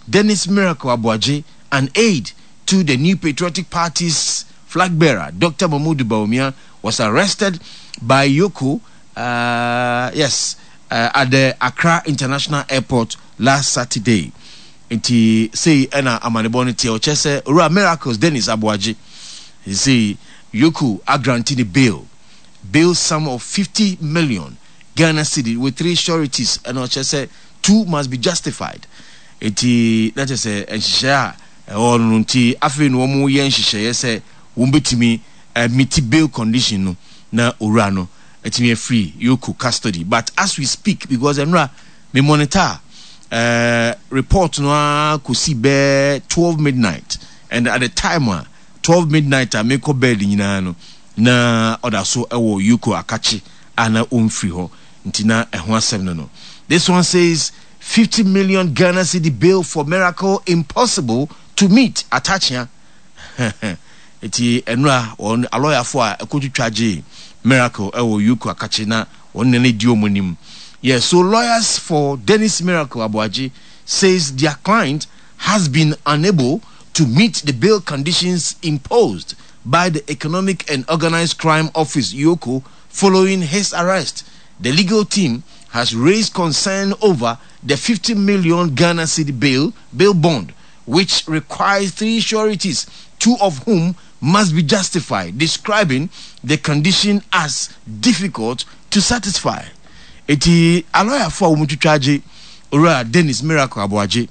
Dennis Miracle Aboagye, an aide to the New Patriotic Party's flag bearer, Dr. Mahamudu Bawumia, was arrested by EOCO, yes, at the Accra International Airport last Saturday. Nti sei ɛna amanebɔ no teɛ ɔkyerɛ sɛ Owura Miracles Dennis Aboagye sei EOCO agranti ne bail bail sum of 50 million Ghana cedi with three sureties ɛna ɔkyerɛ sɛ two must be justified nti na kyerɛ sɛ nhyehyɛe a ɛwɔ no no nti afei na wɔn yɛ nhyehyɛeɛ sɛ wɔn bɛtumi meet bail condition no na owura no atumi afiri EOCO custody but as we speak because ɛnora me monitor uh, report no ara kɔsi bɛɛ 12 midnight and at the time a 12 midnight a mekɔ bed nyinaa no na ɔda so wɔ EOCO akakye a na ɔmfiri hɔ nti na ɛho asɛm no no this one says 50 million Ghana cedi bail for miracle impossible to meet Atta Akyea nti ɛnora wɔn alɔyafo a ɛkɔtwitwa gyee Miracle ɛwɔ EOCO akakye na wɔn nana di wɔn anim. Yes, so lawyers for Dennis Miracle Aboagye says their client has been unable to meet the bail conditions imposed by the Economic and Organized Crime Office, EOCO, following his arrest. The legal team has raised concern over the 50 million Ghana cedi bail, bail bond, which requires three sureties, two of whom must be justified, describing the condition as difficult to satisfy. Eti alɔyafo a wɔn twitwa agye Owura Dennis Miracle Aboagye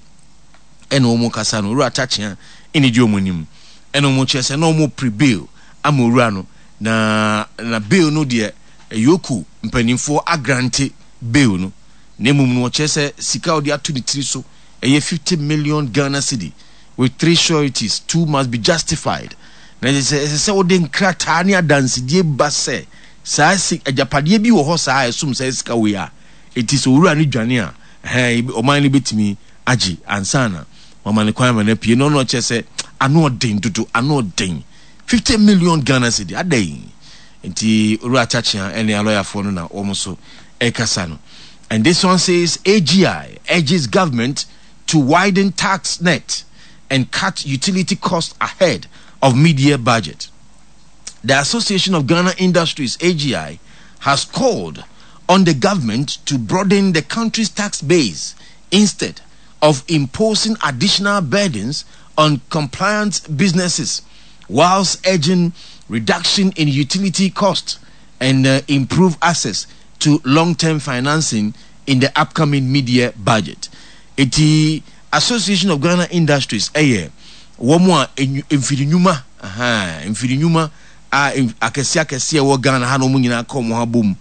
ɛna wɔn kasa no, Owura Atta Akyea ɛna edi wɔn anim ɛna wɔn kyerɛ sɛ na wɔn pre bail ama owura no na na bail no deɛ EOCO mpanimfoɔ agrante bail no na mmom no wɔkyerɛ sɛ sika a wɔde ato ne tiri so ɛyɛ 50 million Ghana cedi with three sureties, two must be justified. Na ɛsɛ sɛ ɛsɛ sɛ wode nkrataa ne adansedie ba sɛ saa si agyapadeɛ bi wɔ hɔ saa a ɛsom saa sika wei a eti sɛ owura no dwane a ɛhɛn ɔman no bɛtumi agye ansa na wama no kwan ama no apue. Na ɔno ɔkyerɛ sɛ ano ɔden dodo, ano ɔden. 50 million Ghana cedi adɛn? Nti Owura Atta Akyea ne alɔyafoɔ no na wɔn nso ɛrekasa no. And this one says AGI urges government to widen tax net and cut utility costs ahead of mid-year budget. The Association of Ghana Industries, AGI, has called on the government to broaden the country's tax base instead of imposing additional burdens on compliant businesses, whilst urging reduction in utility costs and improve access to long-term financing in the upcoming mid-year budget. Eti Association of Ghana Industries yɛ wɔn a mfiri nnwuma, ahaa, mfiri nnwuma a akɛseɛ akɛseɛ ɛwɔ Ghana ha na wɔn nyinaa ka wɔn ho abom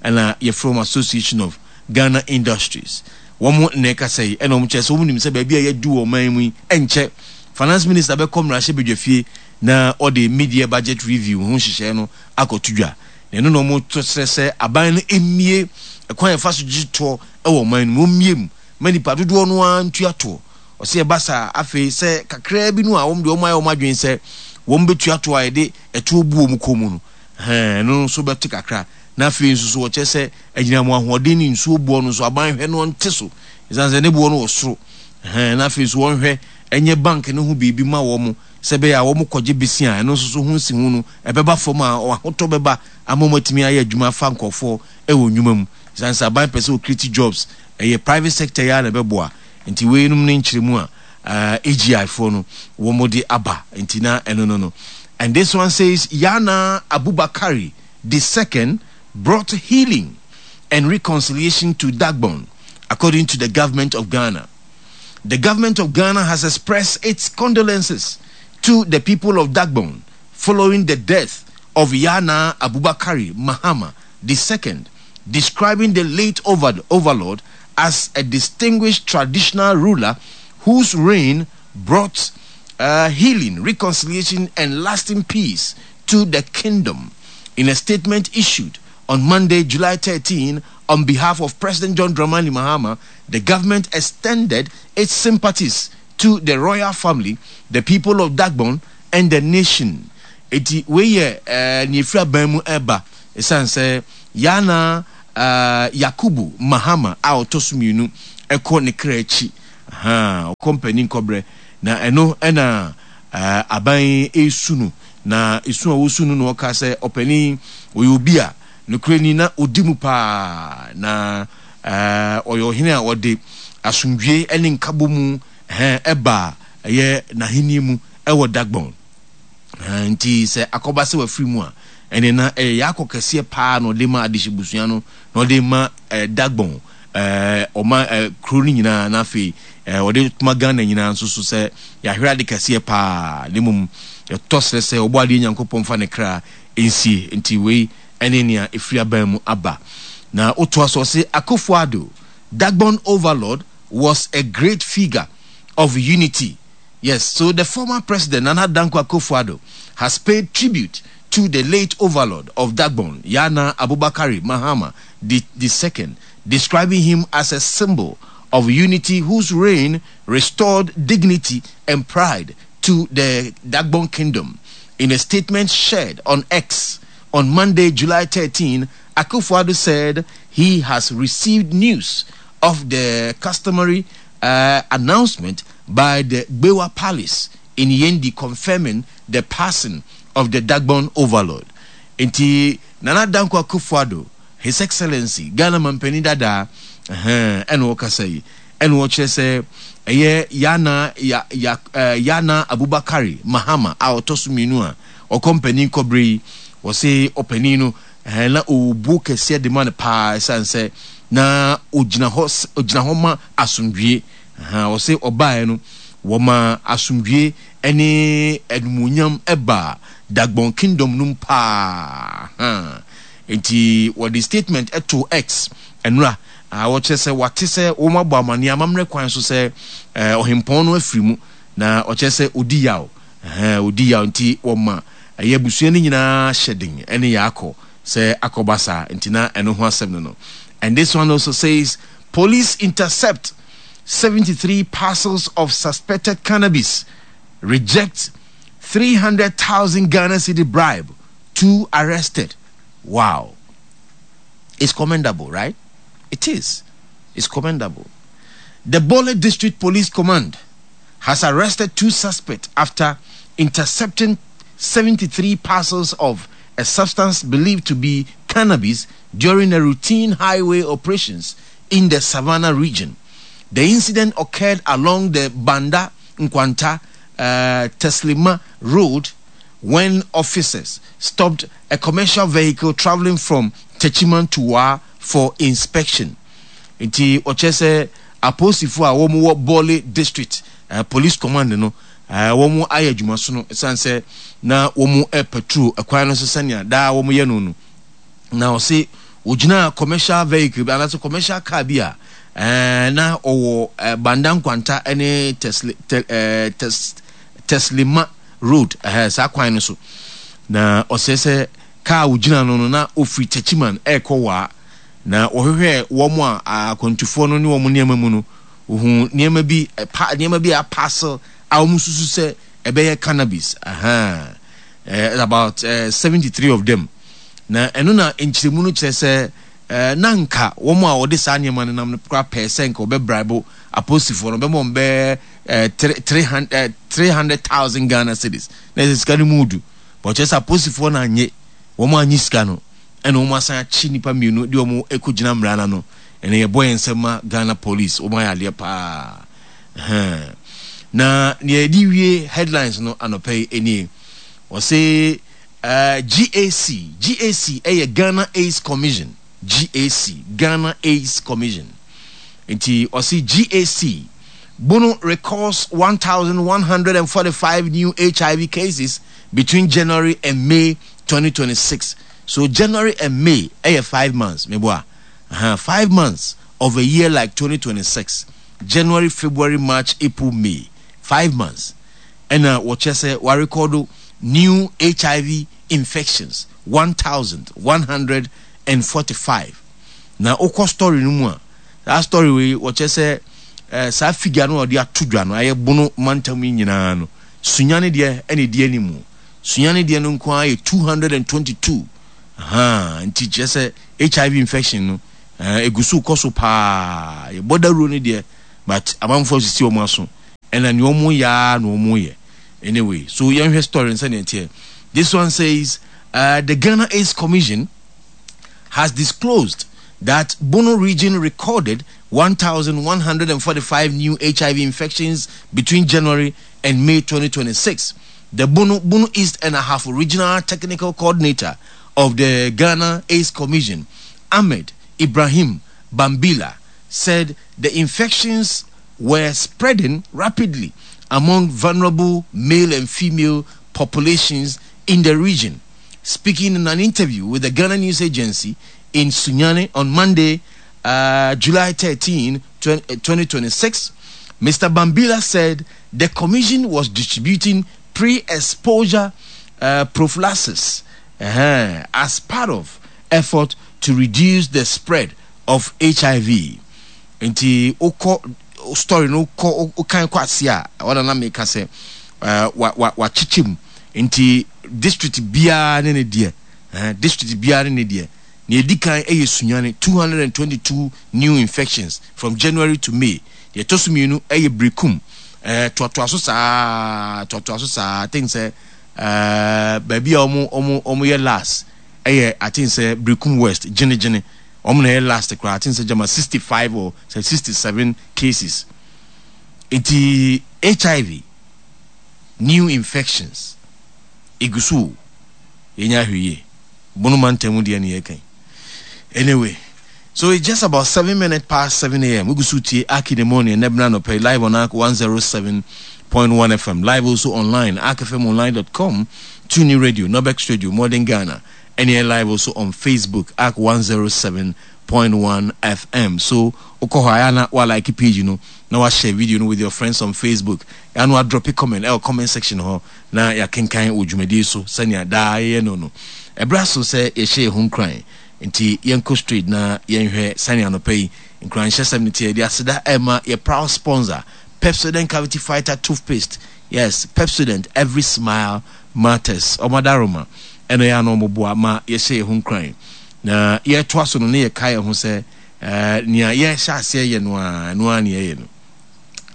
ɛna yɛfrɛ wɔn Association of Ghana Industries. Wɔn na ɛkasa yi ɛna wɔn kyerɛ sɛ wɔn nim sɛ baabi a yɛadu wɔ ɔman mu yi ɛnkyɛ Finance Minister bɛkɔ mmarahyɛbadwafie na ɔde mid-year budget review ho nhyehyɛɛ no akɔto dwa. Na ɛno na wɔto srɛ sɛ aban no mmue ɛkwan a yɛfa so gye toɔ wɔ ɔman no mu, wɔmmue mu ma nnipa dodoɔ no ara ntua toɔ. Ɔsɛ ɛba saa a, afei sɛ kakraa bi no a wɔn deɛ wɔayɛ wɔn adwene sɛ wɔbɛtua toɔ a yɛde ɛtoɔ bu wɔn kɔn mu no, ɛhɛn, ɛno nso bɛte kakra. Na afei nso so wɔkyerɛ sɛ anyinam ahoɔden ne nsuo boɔ no nso aban hwɛ na ɔnte so, ɛsiane sɛ ne boɔ no wɔ soro. Ɛhɛn, na afei nso wɔnhwɛ nyɛ bank no ho biribi ma wɔn sɛ ɛbɛyɛ a wɔkɔgye besia a, ɛno nso so ho nsiho no ɛbɛba fam a ahotɔ bɛba ama wɔatumi ayɛ adwuma afa nkurɔfoɔ wɔ nnwuma mu. Ɛsiane sɛ aban pɛ sɛ ɔcreate jobs, ɛyɛ private sector yi ara na ɛbɛboa. Nti weinom ne nkyerɛmu a AGI foɔ no wɔde aba. Nti na ɛno no no. And this one says, Yana Abubakari the second brought healing and reconciliation to Dagbon, according to the government of Ghana. The government of Ghana has expressed its condolences to the people of Dagbon following the death of Yana Abubakari Mahama II, describing the late overlord as a distinguished traditional ruler whose reign brought healing, reconciliation, and lasting peace to the kingdom. In a statement issued on Monday, July 13, on behalf of President John Dramani Mahama, the government extended its sympathies to the royal family, the people of Dagbon, and the nation. Eti wei yɛ eh, nea efiri aban mu ɛba ɛsiane sɛ Yana eh, Yakubu Mahama a ɔtɔ so mmienu ɛkɔ ne kra akyi. Ahaa, ɔkɔ mpanin kɔbrɛ. Na ɛno na aban yi resu no. Na esu a wɔsu no na ɔka sɛ ɔpanin ɔyɛ obi a nokorɛ ni na ɔdi mu paa. Na ɔyɛ ɔhene a ɔde asomdwie ne nkabɔmu ɛbaa ɛyɛ n'ahennie mu ɛwɔ Dagbon. Nti sɛ akɔba sɛ wafiri mu a, ɛne na ɛyɛ yaakɔ kɛseɛ paa na ɔde ma adehyebusua no, na ɔde ma Dagbon ɔma kuro no nyinaa, na afei ɔde ma Ghana nyinaa nso so sɛ yɛahwere ade kɛseɛ paa, na mmom yɛtɔ srɛ sɛ ɔbɔ adeɛ Nyankopɔn mfa ne kra nsie. Nti wei ɛne nea ɛfiri aban mu aba. Na wotoa so ɔse Akufo-Addo, Dagbon overlord, was a great figure of unity. Yes, so the former president Nana Dankwa Akufo-Addo has paid tribute to the late overlord of Dagbon, Yana Abubakari Mahama the, the second, describing him as a symbol of unity whose reign restored dignity and pride to the Dagbon kingdom. In a statement shared on X on Monday, July 13, Akufo-Addo said he has received news of the customary announcement by the Gbewa Palace in Yendi confirming the passing of the Dagbon overlord. Nti Nana Dankwa Akufo-Addo, His Excellency, Ghana Mampanin dadaa, ɛhɛn, ɛna ɔkasa yi, ɛna ɔkyerɛ sɛ ɛyɛ Yana, ya, ya, eh, Yana Abubakari Mahama a ɔtɔ so mmienu a ɔkɔ mpanin kɔbere yi, wɔse ɔpanin no, ɛhɛn, na ɔwɔ buo kɛseɛ de ma no paa ɛsiane sɛ na ɔgyina hɔ, ɔgyina hɔ ma asomdwie. Ɛhɛn, ɔse ɔbaeɛ no, wɔmaa asomdwie ne animuonyam baa Dagbon Kingdom no mu paa. Ahaa. Enti wɔde statement too X nnora a wɔkyerɛ sɛ wɔate sɛ wɔabɔ amanneɛ amammerɛ kwan so sɛ ɔhempɔn no afiri mu, na ɔkyerɛ sɛ ɔdi yaw. Ɛhɛn, ɔdi yaw nti wɔma ɛyɛ abusua no nyinaa hyɛ den ne yɛ akɔ sɛ akɔba saa. Nti na ɛno ho asɛm no no. And this one also says, Police intercept 73 parcels of suspected cannabis, reject 300,000 Ghana cedi bribe, two arrested. Wow. It's commendable, right? It is. It's commendable. The Bole District Police Command has arrested two suspects after intercepting 73 parcels of a substance believed to be cannabis during a routine highway operations in the Savannah region. The incident occurred along the Banda Nkwanta uh, Teslima Road when officers stopped a commercial vehicle traveling from Techiman to Wa for inspection. Nti ɔkyerɛ sɛ apolisifo a wɔn wɔ Bole District uh, Police Command no uh, wɔn ayɛ adwuma so no ɛsiane sɛ na wɔn patrol ɛkwan no so sɛnea daa wɔn yɛ no no. Na ɔse ogyinaa commercial vehicle bi anaasɛ commercial car bi a ɛɛ na ɔwɔ ɛɛ Banda Nkwanta ne Tesle tɛ ɛɛ Tes Teslima road ɛhɛ saa kwan no so. Na ɔsɛ sɛ car a ogyina no no na ofiri Techiman ɛrekɔ Waa. Na wɔhwehwɛɛ wɔn a akwantufoɔ no ne wɔn nneɛma mu no, ohun nneɛma bi pa nneɛma bi a parcel a wɔn susu sɛ ɛbɛyɛ cannabis ahaa ɛɛ about ɛɛ 73 of them. Na ɛno na nkyerɛmu no kyerɛ sɛ na anka wɔn a wɔde saa nneɛma no nam no koraa pɛɛ sɛ nka wɔbɛbraibo apolisifoɔ no, wɔbɛma wɔn bɛyɛ 300,000 Ghana cedis. Na ɛsɛ sika no mu du. But kyerɛ sɛ apolisifoɔ no annye, wɔn annye sika no, ɛna wɔn asan akye nnipa mmienu de wɔn kɔgyina mmara no ano. Ɛna yɛbɔ yɛn nsam ma Ghana police, wɔn ayɛ adeɛ paa. Na nea yɛde wie headlines no anɔpa yi nie. Wɔse GAC, GAC yɛ Ghana AIDS Commission, GAC, Ghana AIDS Commission. Nti ɔse GAC, Bono records 1,145 new HIV cases between January and May 2026. So January and May ɛyɛ 5 months, meboa. 5 months of a year like 2026. January, February, March, April, May. 5 months. Ɛna wɔkyerɛ sɛ wɔarekɔdo new HIV infections 1,145. Na wokɔ story no mu a, saa story wei wɔkyerɛ sɛ eh, saa figure no a wɔde ato dwa no ayɛ Bono mantam yi nyinaa no, Sunyani deɛ ɛna ɛdi anim. Sunyani deɛ no nko ara yɛ 222. Ahaa, nti kyerɛ sɛ HIV infection no eh, ɛgu so kɔ so paa. Yɛbɔ dawuro no deɛ, But amanfoɔ asisi wɔn aso ɛna nea wɔn yɛ ara na wɔn yɛ. Anyway, so yɛnhwɛ story no sɛnea ɛteɛ. This one says, the Ghana AIDS Commission has disclosed that Bono region recorded 1,145 new HIV infections between January and May 2026. The Bono, Bono East and Ahafo Regional Technical Coordinator of the Ghana AIDS Commission, Ahmed Ibrahim Bambila, said the infections were spreading rapidly among vulnerable male and female populations in the region. Speaking in an interview with the Ghana News Agency in Sunyani on Monday, July 13, 2026, Mr. Bambila said the commission was distributing pre-exposure prophylaxis as part of effort to reduce the spread of HIV. Nti wokɔ story no wokɔ wokan kɔ ase a ɛhɔ na na meka sɛ wa wa wakyekyɛ mu nti district biara ne ne deɛ district biara ne ne deɛ. Nea edi kan yɛ Sunyani, 222 new infections from January to May. Deɛ ɛtɔ so mmienu yɛ Berekum, toatoa so saa toatoa so saa. I think sɛ baabi a wɔn wɔn wɔn yɛ last yɛ I think sɛ Berekum West, Gyene Gyene. Wɔn na ɛyɛ last koraa. I think sɛ gyama 65 or sɛ 67 cases. Nti HIV new infections egu so o, yɛnyɛ ahwɛyie. Bono mantam mu deɛ ne yɛka yi. Anyway, so it's just about 7 minutes past 7 a.m. Wogu so tie Ark in the Morning ɛnɛ bena anɔpa yi live on Ark 107.1 FM, live also online, arkfmonline.com, TuneIn Radio, Nobex Radio, Modern Ghana, ɛne yɛ live also on Facebook, Ark 107.1 FM. So wokɔ hɔ a ɛyɛ na wa like page no na wa share video no with your friends on Facebook. Ɛyɛ na wa drop a comment ɛwɔ comment section hɔ na yɛakenkan wɔ dwumadie so sɛnea daa yɛyɛ no no. Ɛberɛ aso sɛ yɛhyɛ yɛn ho nkuran, nti yɛnkɔ straight na yɛnhwɛ sɛnea anɔpa yi nkuranhyɛsɛm no teɛ. Yɛde aseda rema yɛ proud sponsor, Pepsodent Cavity Fighter Toothpaste. Yes, Pepsodent, every smile matters. Wɔn adaworoma ɛna ɛyɛ a na wɔboa ma yɛhyɛ yɛn ho nkuran. Na yɛretoa so no, na yɛkae yɛn ho sɛ eh, nea yɛhyɛ aseɛ yɛ no ara, ɛno ara na yɛyɛ no.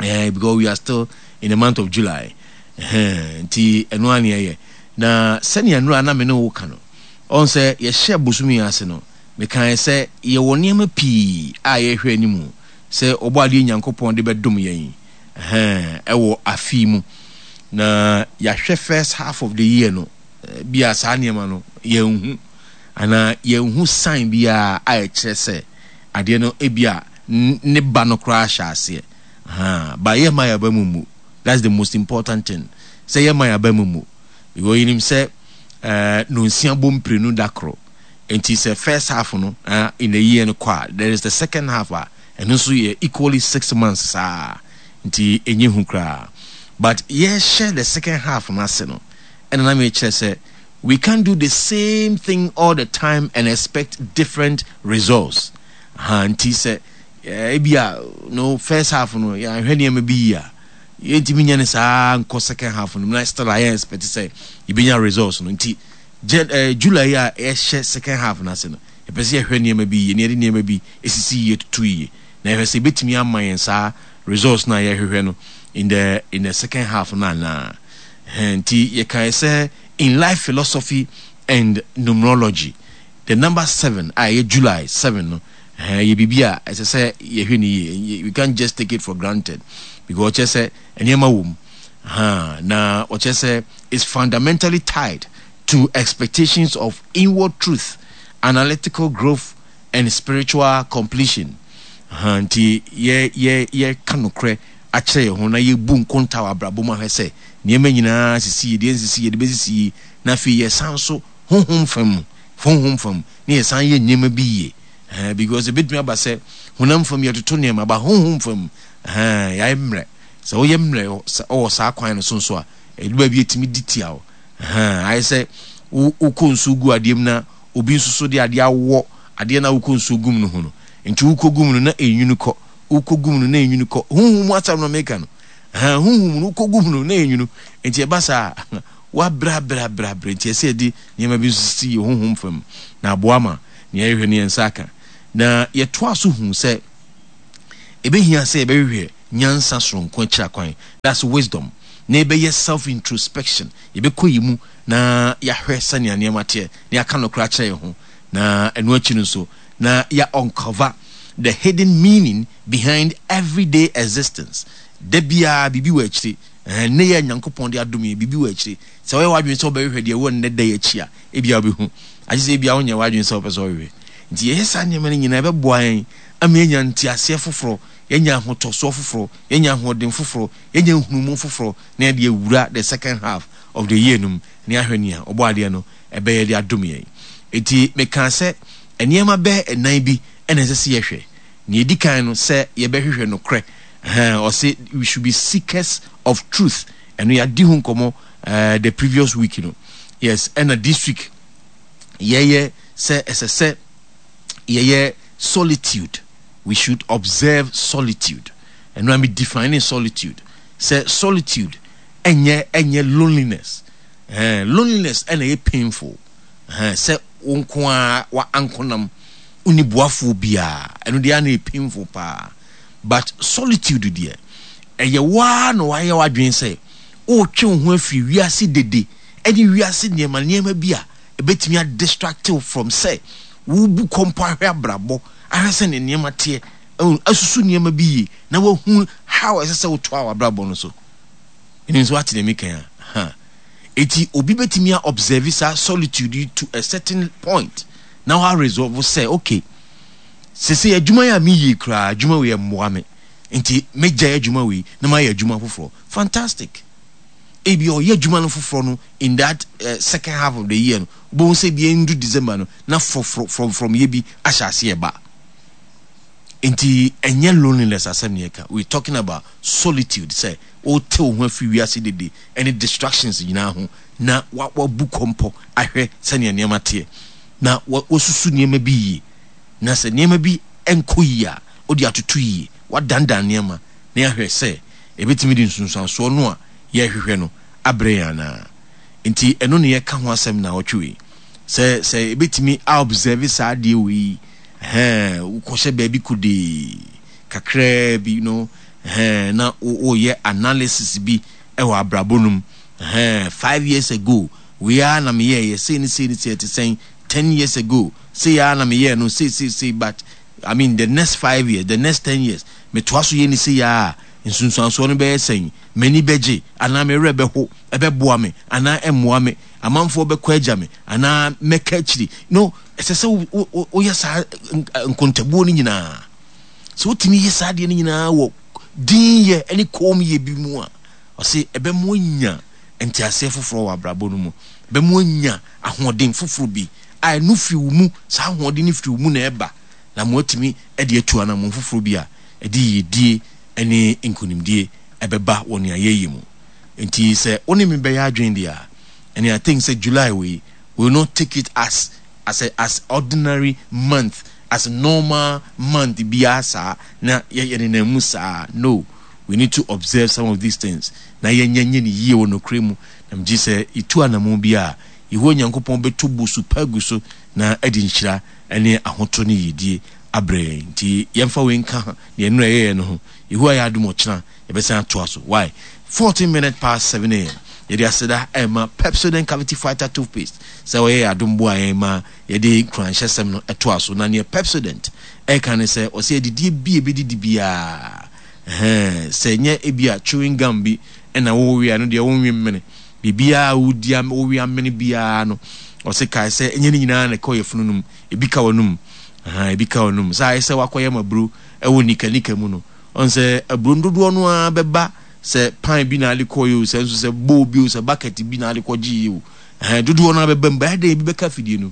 Eh, because we are still in the month of July. Ɛhɛn, nti ɛno ara na yɛyɛ. Na sɛnea nnora na me ne wo ka no, ɔn sɛ yɛhyɛ bosome yi ase no, mekae sɛ yɛwɔ nneɛma pii a yɛhwɛ anim sɛ Ɔbɔadeɛ Nyankopɔn de bɛdom yɛn, ɛhɛn, ɛwɔ afe yi mu. Na yɛahwɛ first half of the year no, bi a saa nneɛma no yɛnhu, anaa yɛnhu sign biara a ɛkyerɛ sɛ adeɛ no ebi a ne ba no koraa hyɛ aseɛ. Ahaa, but yɛmma yɛn aba mu mmu. That's the most important thing. Sɛ yɛmma yɛn aba mu mmu. Because yɛnim sɛ eh, nonsia bɔ mprenu da koro. Nti sɛ first half no eh, in the year no kɔ a, there is the second half a, ɛno nso yɛ equally 6 months saa. Nti ɛnyɛ hu koraa. But yɛhyɛ the second half no ase no, ɛna na mekyerɛ sɛ we can't do the same thing all the time and expect different results. Ha, nti sɛ ebi a no first half no yɛanhwɛ nneɛma bi yie a, yɛntumi nyɛ no saa nkɔ second half no mu na still a yɛn expect sɛ yɛbɛnya results no. Nti July yi a yɛhyɛ second half no ase no, yɛpɛ sɛ yɛhwɛ nneɛma bi yie na yɛde nneɛma bi esisi yie tutu yie na yɛhwɛ sɛ ebɛtumi ama yɛn saa results no a yɛhwehwɛ no in the second half no anaa. Nti yɛkae sɛ in life philosophy and numerology, the number 7 a ɛyɛ July 7 no ɛyɛ biribi a ɛsɛ sɛ yɛhwɛ no yie. We can't just take it for granted because ɔkyerɛ sɛ nneɛma wɔ mu. Na ɔkyerɛ sɛ it's fundamentally tied to expectations of inward truth, analytical growth and spiritual completion. Nti yɛ yɛ yɛka nokorɛ akyerɛ yɛn ho na yɛbu nkonta wɔ abrabɔ mu ahwɛ sɛ nneɛma nyinaa sisi yie, deɛ nsisi yie de bɛsisi yie, na afei yɛsan so honhom fam mu, honhom fam ne yɛsan yɛ nneɛma bi yie. Because ebetumi aba sɛ honam fam yɛtoto nneɛma, ba honhom fam yɛayɛ mmerɛ. Sɛ woyɛ mmerɛ wɔ saa kwan no so nso a, ɛdu baabi etumi di tia wo. Ayɛ sɛ wokɔ nsuo gu adeɛ mu na obi nso so de adeɛ awɔ adeɛ no a wokɔ nsuo gu mu no ho no. Nti wokɔ gu mu no na enwunu kɔ, wokɔ gu mu no na enwunu kɔ. Honhom mu asɛm no meka no. Honhom mu no wokɔ gu mu no na enwunu. Nti ɛba saa a, woabrɛ abrɛ abrɛ abrɛ. Nti ɛsɛ yɛde nneɛma bi nso sisi yɛn honhom fam na aboa ma nea yɛhwehwɛ no yɛn nsa aka. Na yɛtoa so hu sɛ ebehia sɛ yɛbɛhwehwɛ. nyansa soronko akyira kwan. That's wisdom. Na yɛbɛyɛ self introspection. Yɛbɛkɔ yɛn mu na yɛahwɛ sɛnea nneɛma teɛ, na yɛaka nokorɛ akyerɛ yɛn ho. Na ɛno akyi no nso, na yɛ uncover the hidden meaning behind everyday existence. Da biara biribi wɔ akyire. Ɛhɛn, nnɛ yi a Nyankopɔn de adom yɛn, biribi wɔ akyire. Sɛ woyɛ w'adwene sɛ wobɛhwehwɛ deɛ ɛwɔ nnɛ da yi akyi a, ebia wobɛhu. Agye sɛ ebia wonyɛ w'adwene sɛ wopɛ sɛ wohwehwɛ. Nti yɛyɛ saa nneɛma no nyinaa, ɛbɛboa yɛn ama yɛanya nteaseɛ foforɔ, yɛanya ahotɔsoɔ foforɔ, yɛanya ahoɔden foforɔ, yɛanya nhunumu foforɔ, na yɛde awura the second half of the year no mu, na yɛahwɛ nea Ɔbɔadeɛ no bɛyɛ de adom yɛn. Enti mekaa sɛ nneɛma bɛyɛ nnan bi na ɛsɛ sɛ yɛhwɛ. Nea ɛdi kan no, sɛ yɛbɛhwehwɛ nokorɛ. Ɛhɛn, ɔse we should be seekers of truth. Ɛno yɛadi ho nkɔmmɔ eh, the previous week no. Yes, ɛna this week yɛyɛ sɛ ɛsɛ sɛ yɛyɛ solitude. We should observe solitude. Ɛno a me define solitude. Sɛ solitude ɛnyɛ ɛnyɛ loneliness. Ɛhɛn, loneliness ɛna ɛyɛ painful. Ɛhɛn, sɛ wo nko ara wa ankonam, wonni boafoɔ biara, ɛno deɛ ana ɛyɛ painful paa. But solitude deɛ, ɛyɛ wo ara na wayɛ w'adwene sɛ woretwe wo ho afiri wiase dede ɛne wiase nneɛma nneɛma bi a ɛbɛtumi a distract wo from sɛ wobu kɔmpɔ ahwɛ abrabɔ, ahwɛ sɛdeɛ nneɛma teɛ, asusu nneɛma bi yie na wahu how ɛsɛ sɛ wotoa w'abrabɔ no so. Menim sɛ woate deɛ meka yi a. Ha. Eti obi bɛtumi a observe saa solitude yi to a certain point na wa resolve sɛ okay, sesei adwuma yi a meyɛ yi koraa, adwuma wei ɛmmoa me, nti mɛgyae adwuma wei na mayɛ adwuma foforɔ. Fantastic. Ebi ɔyɛ adwuma no foforɔ no in that uh, second half of the year no, wobɛhu sɛ ebi ɛndu December no na fɔfrɔ frɔmfrɔmyɛ bi ahyɛ aseɛ ba. Nti ɛnyɛ loneliness asɛm ne yɛka. We talking about solitude sɛ wote wo ho afiri wiase dede ne distractions nyinaa ho na wabu kɔmpɔ ahwɛ sɛnea nneɛma teɛ na wasusu nneɛma bi yie na sɛ nneɛma bi nkɔ yie a wode atoto yie, wadandan nneɛma na yɛahwɛ sɛ ɛbɛtumi de nsunsuansoɔ no a yɛrehwehwɛ no abrɛ yɛn anaa. Nti ɛno na yɛka ho asɛm naawɔtwe wei sɛ sɛ ɛbɛtumi a observe saa adeɛ wei yi, ɛhɛn, wokɔhyɛ baabi kodee kakraa bi no, ɛhɛn, na woyɛ analysis bi wɔ abrabɔ no mu, ɛhɛn, 5 years ago, wei ara na meyɛɛyɛ, sei ne sei ne sei, ɛte sɛn, 10 years ago, sei ara na meyɛɛ no, sei sei sei, but I mean the next 5 years, the next 10 years, metoa so yɛ ne sei ara a, nsunsuansoɔ no bɛyɛ sɛn? M'ani bɛgye anaa me werɛ bɛho? Ɛbɛboa me anaa ɛmmoa me? Amanfoɔ bɛkɔ agya me anaa mɛka akyiri? No, ɛsɛ sɛ woyɛ saa nkontabuo no nyinaa. Sɛ wotumi yɛ saa adeɛ no nyinaa wɔ dinyɛ ne kommyɛ bi mu a, ɔse ɛbɛma woanya nteaseɛ foforɔ wɔ abrabɔ no mu. Ɛbɛma woanya ahoɔden foforɔ bi a ɛno firi wo mu, saa ahoɔden no firi wo mu na ɛba, na ma woatumi de atu anammɔn foforɔ bi a ɛde yiedie ne nkonimdie ɛbɛba wɔ nea yɛyɛ mu. Nti sɛ wo ne me bɛyɛ adwene deɛ a, ɛne I think sɛ July wei, we will not take it as a as ordinary month, as normal month biara saa na yɛ yɛnenam mu saa. No, we need to observe some of these things na yɛnyɛ nyɛ no yie wɔ nokorɛ mu. Na megye sɛ yɛtu anamon bi a, Yehowa Nyankopɔn bɛtɔ bosu pa agu so na ɛde nhyira ne ahotɔ ne yiedie abrɛ yɛn. Nti yɛmfa wei nka deɛ nnora yɛyɛ no ho. Yehowa yɛ adom ɔkyena yɛbɛsan atoa so. Why? 14 minutes past 7 am. Yɛde aseda ɛma Pepsodent Cavity Fighter Toothpaste sɛ ɔyɛ yɛn adom boa yɛn ma yɛde nkuranhyɛsɛm no ɛtoa so. Na neɛ Pepsodent ɛka ne sɛ ɔsɛ adidie bi a ɛbɛdidi biara, ɛhɛn, sɛ nyɛ ebi a chewing gum bi ɛna wowe a, ɛno deɛ wonwe mmene. Biribiara a wodi a wowe amene biara no, ɔse kae sɛ ɛnyɛ ne nyinaa na ɛkɔ yafunu no mu, ebi ka w'anum. Ahaa, ebi ka w'anum. Sɛ ayɛ sɛ wakɔyam aburo ɛwɔ nika nika mu no, ɔn sɛ aburo no dodoɔ no ara bɛba sɛ pan bi na ade kɔeɛ o, sɛ nso sɛ bowl bi o, sɛ bucket bi na ade kɔgyeeɛ o, ɛhɛn, dodoɔ no ara bɛba mu, bɛyɛ dɛn ebi bɛka afidie no mu.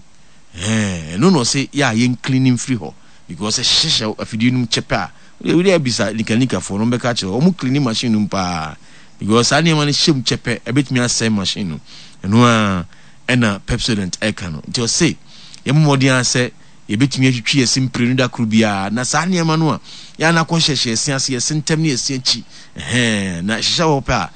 Ɛhɛn, ɛno na ɔse yɛ a yɛn clean mfiri hɔ because ɛhyehyɛ afidie no mu kyɛ pɛ a, wode wode abisa nika nikafoɔ no, wɔbɛka akyerɛ wo, wɔn clean machine no mu paa because saa nneɛma no hyɛ mu kyɛ pɛ, ɛbɛtumi asɛe machine no. Ɛno ara ɛna Pepsodent ɛka no. Nti ɔse yɛmmɔ mmɔden ara sɛ yɛbɛtumi atwitwi yɛn se mprenu da koro biara, na saa nneɛma no a yɛ a na akɔhyehyɛ yɛn se ase, yɛn se ntam ne yɛn se akyi, ɛhɛn, na ɛhyehyɛ hɔ pɛ a,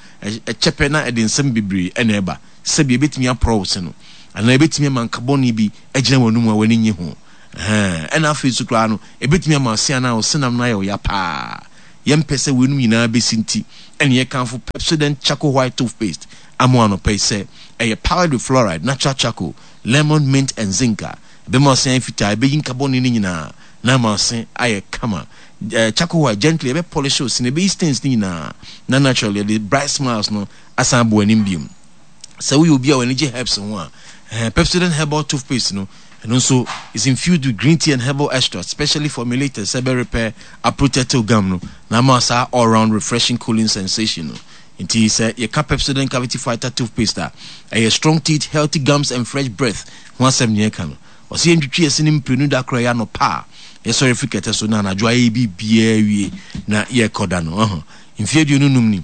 ɛkyɛ pɛ na ɛde nsɛm bebree na ɛba. Sɛbi ɛbɛtumi aporɔ wo se no, anaa ɛbɛtumi ama nka bɔne bi agyina w'anomu a w'ani nnye ho, ɛhɛn, ɛna afei nso koraa no, ɛbɛtumi ama wo se anaa wo senam no ayɛ wo ya paa. Yɛmpɛ sɛ weinom nyinaa bɛsi nti ɛna yɛkamfo Pepsodent Charcoal White Toothpaste ama wo anɔpa yi sɛ ɛyɛ powered with fluoride, natural charcoal, lemon, mint and zinc a ɛbɛma wo se ayɛ fitaa, ɛbɛyi nka bɔne no nyinaa na ama wo se ayɛ kama. Eh, charcoal white, gently ɛbɛ polish wo se no, ɛbɛyi stains no nyinaa na naturally ɛde bright smiles no asan abɔ w'anim biom. Sɛ woyɛ obi a w'ani gye herbs ho a, eh, Pepsodent Herbal Toothpaste no, ɛno nso is infused with green tea and herbal extract specially formulated sɛ ɛbɛ repair, aprotect wo gum no na ama saa all round refreshing cooling sensation no. Nti sɛ yɛka Pepsodent Cavity Fighter Toothpaste a, ɛyɛ strong teeth, healthy gums and fresh breath ho asɛm na yɛka no. Ɔse yɛntwitwi yɛse no mprenu da koro ɛyɛ anɔpa a yɛsɔre firi kɛtɛ so na anadwo ayɛ biribiara wie na yɛrekɔda no. Ɔho, mfeɛ 25 ni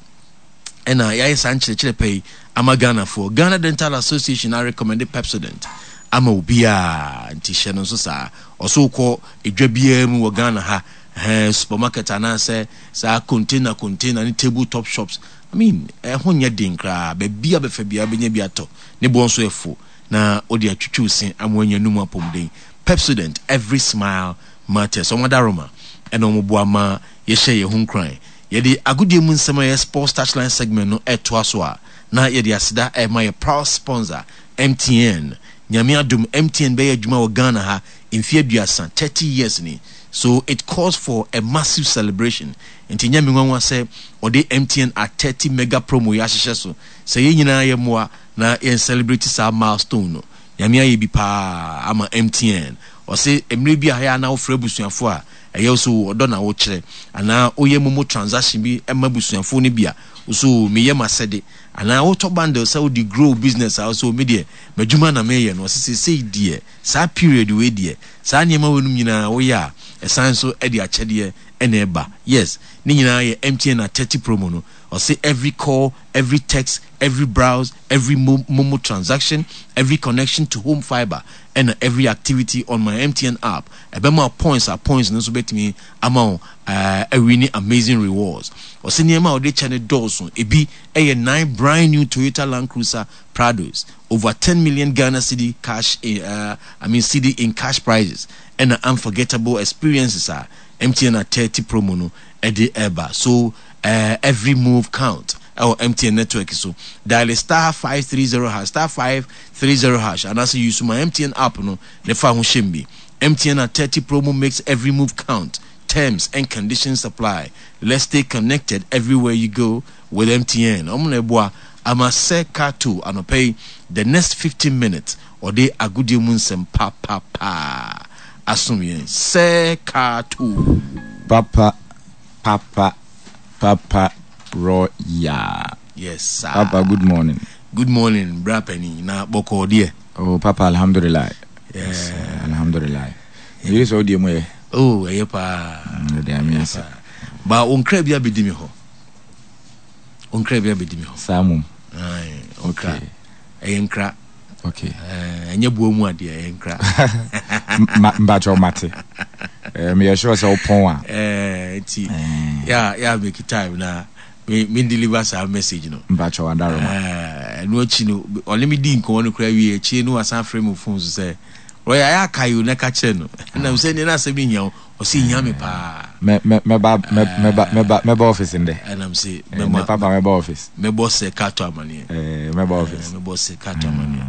ɛna yɛayɛ saa nkyerɛkyerɛ pa yi ama Ghanafoɔ. Ghana Dental Association arecommende Pepsodent ama obiara, nti hyɛ no nso saa. Ɔse wokɔ edwa biara mu wɔ Ghana ha, ɛhɛn, supermarket anaasɛ saa container container ne table top shops, I mean, ɛho nyɛ den koraa, baabi a bɛfa biara wobɛnya bi atɔ, ne boɔ nso ɛfo, na wode atwitwi wo se ama woanya anum apɔmuden. Pepsodent, every smile matters. Wɔn adaworoma ɛna wɔn boa ma yɛhyɛ yɛn ho nkuran. Yɛde agodie mu nsɛm a ɛyɛ Sports Touchline segment no retoa so a, na yɛde aseda rema yɛ proud sponsor, MTN. Nyame adom, MTN bɛyɛ adwuma wɔ Ghana ha mfeɛ aduasa, 30 years ni. So it calls for a massive celebration. Nti ɛnyɛ me nwanwa sɛ wɔde MTN at 30 mega promo yi ahyehyɛ so sɛ yɛn nyinaa yɛmmoa na yɛn celebrate saa milestone no. Nyame ayɛ bi paa ama MTN. Ɔse mmerɛ bi a ɛyɛ a na wofrɛ abusuafoɔ a, Ɛyɛ wo sɛ oo ɔdɔ na wokyerɛ anaa woyɛ momo transaction bi ma abusuafoɔ no bi a, wo sɛ oo meyɛ m'asɛde. Anaa wotɔ bundle sɛ wode grow wo business a, wo sɛ oo me deɛ m'adwuma na meyɛ no. Ɔse seesei deɛ saa period wei deɛ saa nneɛma weinom nyinaa woyɛ a, ɛsan nso de akyɛdeɛ na ɛba. Yes, ne nyinaa yɛ MTN at 30 promo no. Ɔse every call, every text, every browse, every momo transaction, every connection to home fibre ɛna every activity on my MTN app ɛbɛma wo points a points no nso bɛtumi ama wo awini amazing rewards. Ɔse nneɛma a ɔde kyɛ no dɔɔso, ebi yɛ nine brand new Toyota Land Cruiser Prados, over 10 million Ghana cedi cash I mean cedi in cash prizes ɛna unforgettable experiences a MTN at 30 promo no ɛde ɛba. So every move count ɛwɔ MTN network so. Dial star 530 hash star 530 hash anaasɛ use my MTN app no ne fa ho hyɛm bi. MTN at 30 promo makes every move count. Terms and conditions apply. Let's stay connected everywhere you go with MTN. Ɔmo na ɛboa ama sɛ Kato anɔpa yi the next 15 minutes ɔde agodie mu nsɛm papapaa asom yɛn. Sɛ Kato. Papa papa papa royal. Yes sir. Papa good morning. Good morning bra panin na bɔkɔɔ deɛ. Oh papa alhamdulillah. Yes alhamdulillah. Meyere sɛ wodeɛ mu yɛ. Oh ɛyɛ paa. Ɛde ame ase. Ba wo nkra bi abɛdi me hɔ. Wo nkra bi abɛdi me hɔ. Saa mom. Aye, nkra. Okay. Ɛyɛ nkra. Okay. Ɛnyɛ boa mu adeɛ, ɛyɛ nkra. Mpakyɛ mate. Meyɛ sure sɛ wopɔn a. Nti, ya ya make time na me me deliver saa message no. Mpakyɛ wadaroma. Ɛno akyi no, ɔne me di nkɔmmɔ no koraa wie akyire no wasan frɛ me phone so sɛ, Roy ayɛ akae o na ka kyerɛ no. Ɛna sɛ nea na asɛm no hia wo, ɔsɛ hia me paa. Mɛba mɛba mɛba mɛba office ndɛ. Ɛnam sɛ mɛma papa mɛba office. Mɛbɔ sɛ kato amaneɛ. Mɛba office. Mɛbɔ sɛ kato amaneɛ.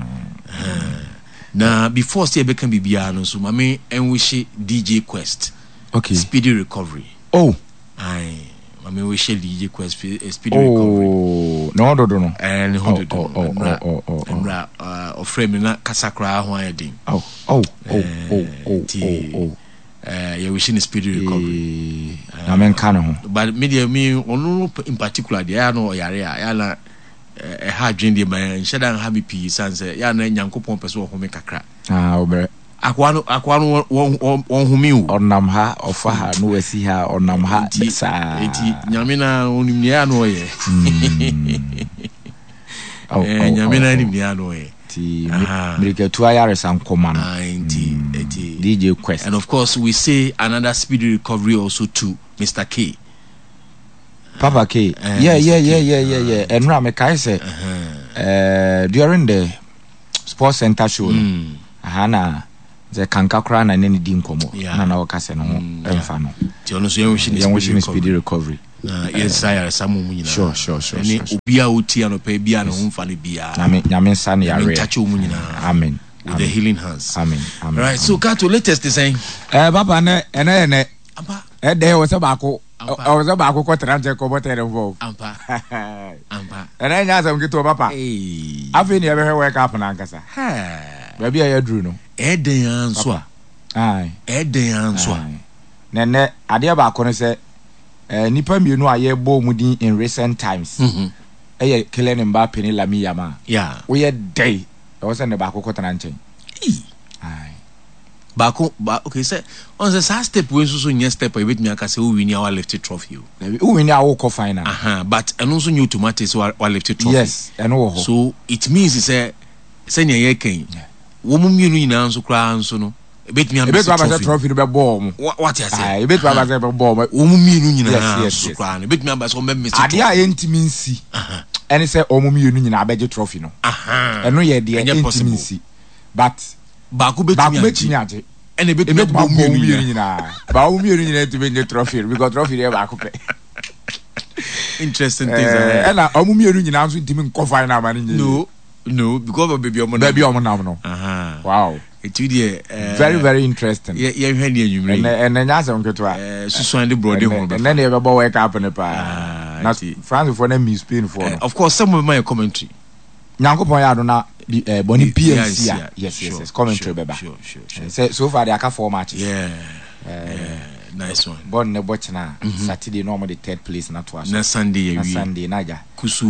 Na before sɛ yɛbɛka biribiara no nso, ma me nwish DJ Quest. Okay. Speedy recovery. Oh. Aye. Ma me wish DJ Quest speedy oh, recovery. Oh, ne ho dodo no. Eh, ne ho dodo no. Oh, oh, oh, oh, oh. Ɔfrɛ me na kasa koraa ho ayɛ den. Oh, oh, oh, oh, oh, oh, oh. Eh, yɛ wish ne speedy recovery. Na me nka ne ho. But me deɛ me ɔno in particular deɛ ɛyɛ na ɔyare a ɛyɛ na ɛha adwene deɛ ma nhyɛ da nha me pii san sɛ ɛyɛ na Nyankopɔn pɛ sɛ ɔhome kakra. Ah, ɔbrɛ. Akoa no akoa no wɔn wɔn home o. Ɔnam ha ɔfa ha no wasi ha ɔnam ha saa. Eti Nyame na onim nea na ɔyɛ. Eh, Nyame na nim nea na ɔyɛ. Ti mirikatu ayaresa nkɔma no. Nti nti DJ Quest. And of course we say another speedy recovery also to Mr. K. Papa K. Eh, yeah, yeah, yeah, yeah, yeah, yeah. Ɛnura me kae sɛ eh, during the sports center show no. Mm. Aha na. Sɛ kanka koraa na ne ne di nkɔmmɔ na na ɔka sɛ ne ho mfa no. Nti ɔno nso yɛn wish ne speedy recovery. Na yɛn nsa ayaresa mu mu nyinaa. Sure sure sure. Ɛne obi a ɔti anɔpɛ bi a ne ho mfa no biara. Nyame nyame nsa ne yareɛ. Nyame ntakye wɔn nyinaa. Amen. With the healing hands. Amen. Amen. Right. So Kato latest is saying. Eh papa ne ɛnɛ yɛ nɛ. Ampa. Ɛdɛ wɔ sɛ baako. Ɔwɔ sɛ baako kɔ tena nkyɛn kɔbɔ tɛn fɔ. Ampa. Ampa. Ɛnɛ nyɛ asɛm ketewa papa. Afei ne yɛbɛhwɛ World Cup no ankasa. Baabi a yɛaduru no. Ɛdɛn ara nso a. Ɛdɛn ara nso a. Na ɛnɛ adeɛ baako ne sɛ nnipa mmienu a yɛbɔ wɔn din in recent times ɛyɛ Kylian Mbappe ne Lamine Yamal. Woyɛ dɛn ɛwɔ sɛ ne baako kɔtena nkyɛn. Baako ba okay sɛ ɔn sɛ saa step wei nso so nyɛ step a yɛbɛtumi aka sɛ wo wini a wa lift trophy o. Dabi wo wini a wokɔ final. Aha but ɛno nso nyɛ automatic sɛ wa wa lift trophy. Yes ɛno wɔ hɔ. So it means sɛ sɛnea yɛreka yi wɔn mmienu nyinaa nso koraa nso no ebɛtumi abɛsɛ trophy. Ebɛtumi aba sɛ trophy no bɛbɔ wɔn. Wa wate aseɛ. Ayi ebɛtumi aba sɛ ɛbɛbɔ wɔn. Wɔn mmienu nyinaa nso koraa no ebɛtumi aba sɛ wɔn bɛ miss trophy. Adeɛ a yɛntumi nsi ɛne sɛ wɔn mmienu nyinaa bɛgye trophy no. Ɛno yɛ deɛ ɛntumi nsi but. Baako bɛtumi agye. Ɛna ebɛtumi abɔ wɔn mmienu nyinaa. Ba wɔn mmienu nyinaa ntumi nye trophy no because trophy no yɛ baako pɛ. Interesting things ahead. Ɛna wɔn mmienu nyinaa nso ntumi nkɔ final ama no nyɛ. No no because of baabi wɔn nam. Baabi wɔn nam no. Wow. Etu deɛ. Very very interesting. Yɛ yɛn hwɛ ni enyimire yi. Ɛnɛ ɛnɛ nyɛ asɛm ketewa. Susuan de borɔde ho bɛfa. Ɛnɛ ne yɛbɛbɔ World Cup ne paa. Na France foɔ na mi Spain foɔ no. Of course sɛ mo bɛ ma yɛ commentary. Nyankopɔn yɛ adom na bi eh, bɔne bi ansi a yes yes yes commentary bɛba sɛ so far de aka four matches yeah, eh, yeah, nice one bɔne ne bɔ kyena mm -hmm. Saturday na wɔn de third place na to aso na Sunday yɛ wie na Sunday na agya kusu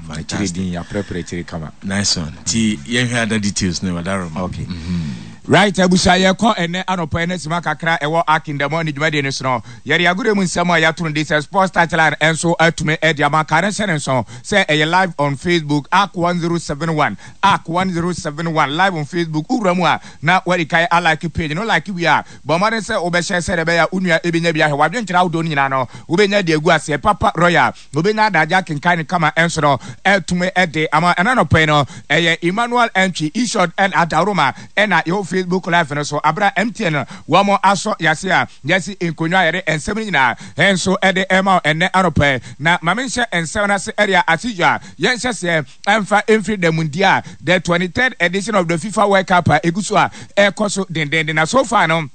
akyire din yɛaprɛprɛ akyire kama nice one ti yɛnhwɛ ada details ne wadaroma okay mm -hmm. Right abusua yɛkɔ ɛnɛ anɔpa ɛnɛ sima kakra ɛwɔ Akindamɔ ne dwumadie no so no yɛde agorɔ mu nsɛm a yɛato no de sɛ sports touchline ɛnso atumi ɛde ama ka ne hyɛ ne nso sɛ ɛyɛ live on Facebook Ark 1071 Ark 1071 live on Facebook wowura mu a na wadi kan a like page no like wie a bɔ mmɔden sɛ wobɛhyɛ sɛdeɛ ɛbɛyɛ a wo nua ɛbɛnya bi ahwɛ w'adwenkyerɛ ahodoɔ no nyinaa no wobɛnya de agu aseɛ papa royal Obenya adagye akenkan no kama nso no atumi de ama. Ɛna anɔpa yi no, ɛyɛ Emmanuel Antwi, Ishod and Adaworoma na yɛwɔ Facebook Live no so abere a MTN wɔn asɔ yase a yɛasi nkonnwa a yɛde nsɛm no nyinaa nso de rema wo ɛnnɛ anɔpa yi. Na ma menhyɛ nsɛm no ase ɛde a as usual yɛnhyɛ seɛ mfa mfiri da mundia the 23rd edition of the FIFA World Cup a ɛgu so a ɛrekɔ so dendenden na so far no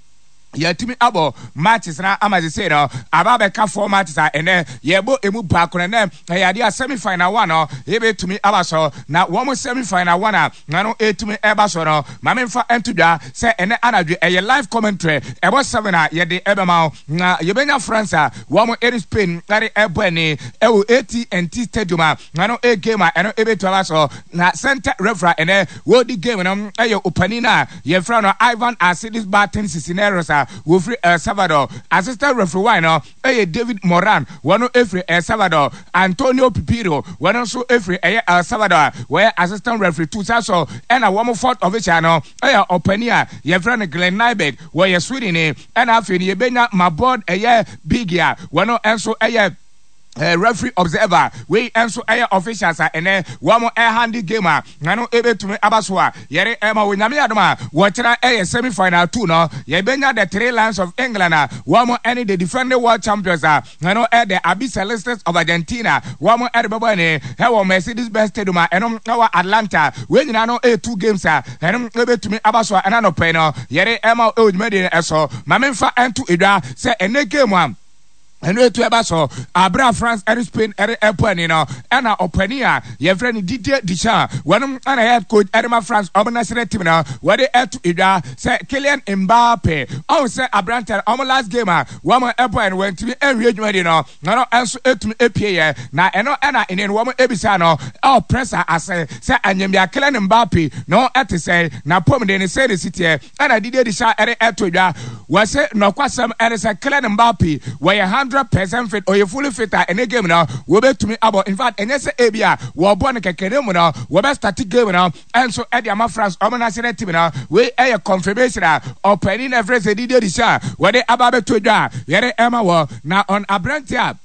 Yɛatumi abɔ matches no ama sesei no aba abɛka four matches a ɛnɛ yɛbɔ emu baako no ɛnɛ ɛyɛ adeɛ a semi final one no ebetumi aba so na wɔn semi final one a na no etumi ɛba so no ma memfa nto dwa sɛ ɛnɛ anadwo ɛyɛ live commentary ɛbɔ seven a yɛde ɛbɛma wo na yɛbɛnya France a wɔn ɛne Spain ɛde ɛbɔ ani ɛwɔ AT&T Stadium a na no ɛyɛ game a ɛno ebetumi aba so na center referee ɛnɛ wɔdi game no ɛyɛ opanin a Yɛfrɛ no Ivan Alcides Barton Cisneros a wɔfiri El Salvador. Assistant referee one no yɛ David Moran, wɔno firi El Salvador. Antonio Pipiro, wɔno nso firi ɛyɛ El Salvador a wɔyɛ assistant referee two. Saa nso ɛna wɔn fourth official no yɛ ɔpanin a yɛfrɛ no Glenn Nyberg, wɔyɛ Swedenni. Ɛna afei no yɛbɛnya Mabord ɛyɛ Biggie a wɔno nso yɛ Eh, referee observer wei nso ɛyɛ officials a ɛnɛ wɔn ɛhande game a na no ɛbɛtumi aba so a yɛre ɛma wɔ nyame adom a wɔkyerɛ ɛyɛ semi final two no yɛbɛnya the three lions of England a wɔn ɛne the defending world champions a na no ɛyɛ the Albicelestes of Argentina wɔn ɛde bɛbɔ ɛne ɛwɔ Mercedes Benz Stadium a ɛno ɛwɔ Atlanta wei nyinaa no ɛyɛ two games a ɛno ɛbɛtumi aba so a ɛna nɔpɛ no yɛre ɛma ɛwɔ dwumadie no ɛso ma memfa ɛnto edwa sɛ ɛnɛ game a Ɛno etu ɛba so abere a France ɛne Spain ɛre ɛbɔ ani no ɛna ɔpanin a yɛfrɛ no Didier Deschamps wɔnom ɛna head coach ɛde ma France ɔmo national team no wɔde ɛto edwa sɛ Kylian Mbappe ɔho sɛ aberanteɛ no ɔmo last game a wɔn ɛbɔɛ no wɔntumi ɛnwie dwumadi no na no ɛnso ɛtumi epie yɛ na ɛno ɛna ɛne no wɔn ebisa no ɛwɔ press ase sɛ anyambia Kylian Mbappe no ɛte sɛn na pɔmuden ne sɛn ne si teɛ Ɛna Didier Deschamps ɛde ɛto dwa. Wɔse nɔkwasɛm ɛne sɛ Kylian Mbappe wɔyɛ 100% fit, ɔyɛ fully fit a ɛnɛ game no wɔbɛtumi abɔ. In fact ɛnyɛ sɛ ebi a wɔbɔ no kɛkɛ na mmom no wɔbɛ start game no ɛnso ɛde ama France wɔn national team no. Wei ɛyɛ confirmation a ɔpanin no ɛfrɛ sɛ Didier Deschamps wɔde aba abɛto dwa a yɛde ɛma wɔ na ɔn aberanteɛ a.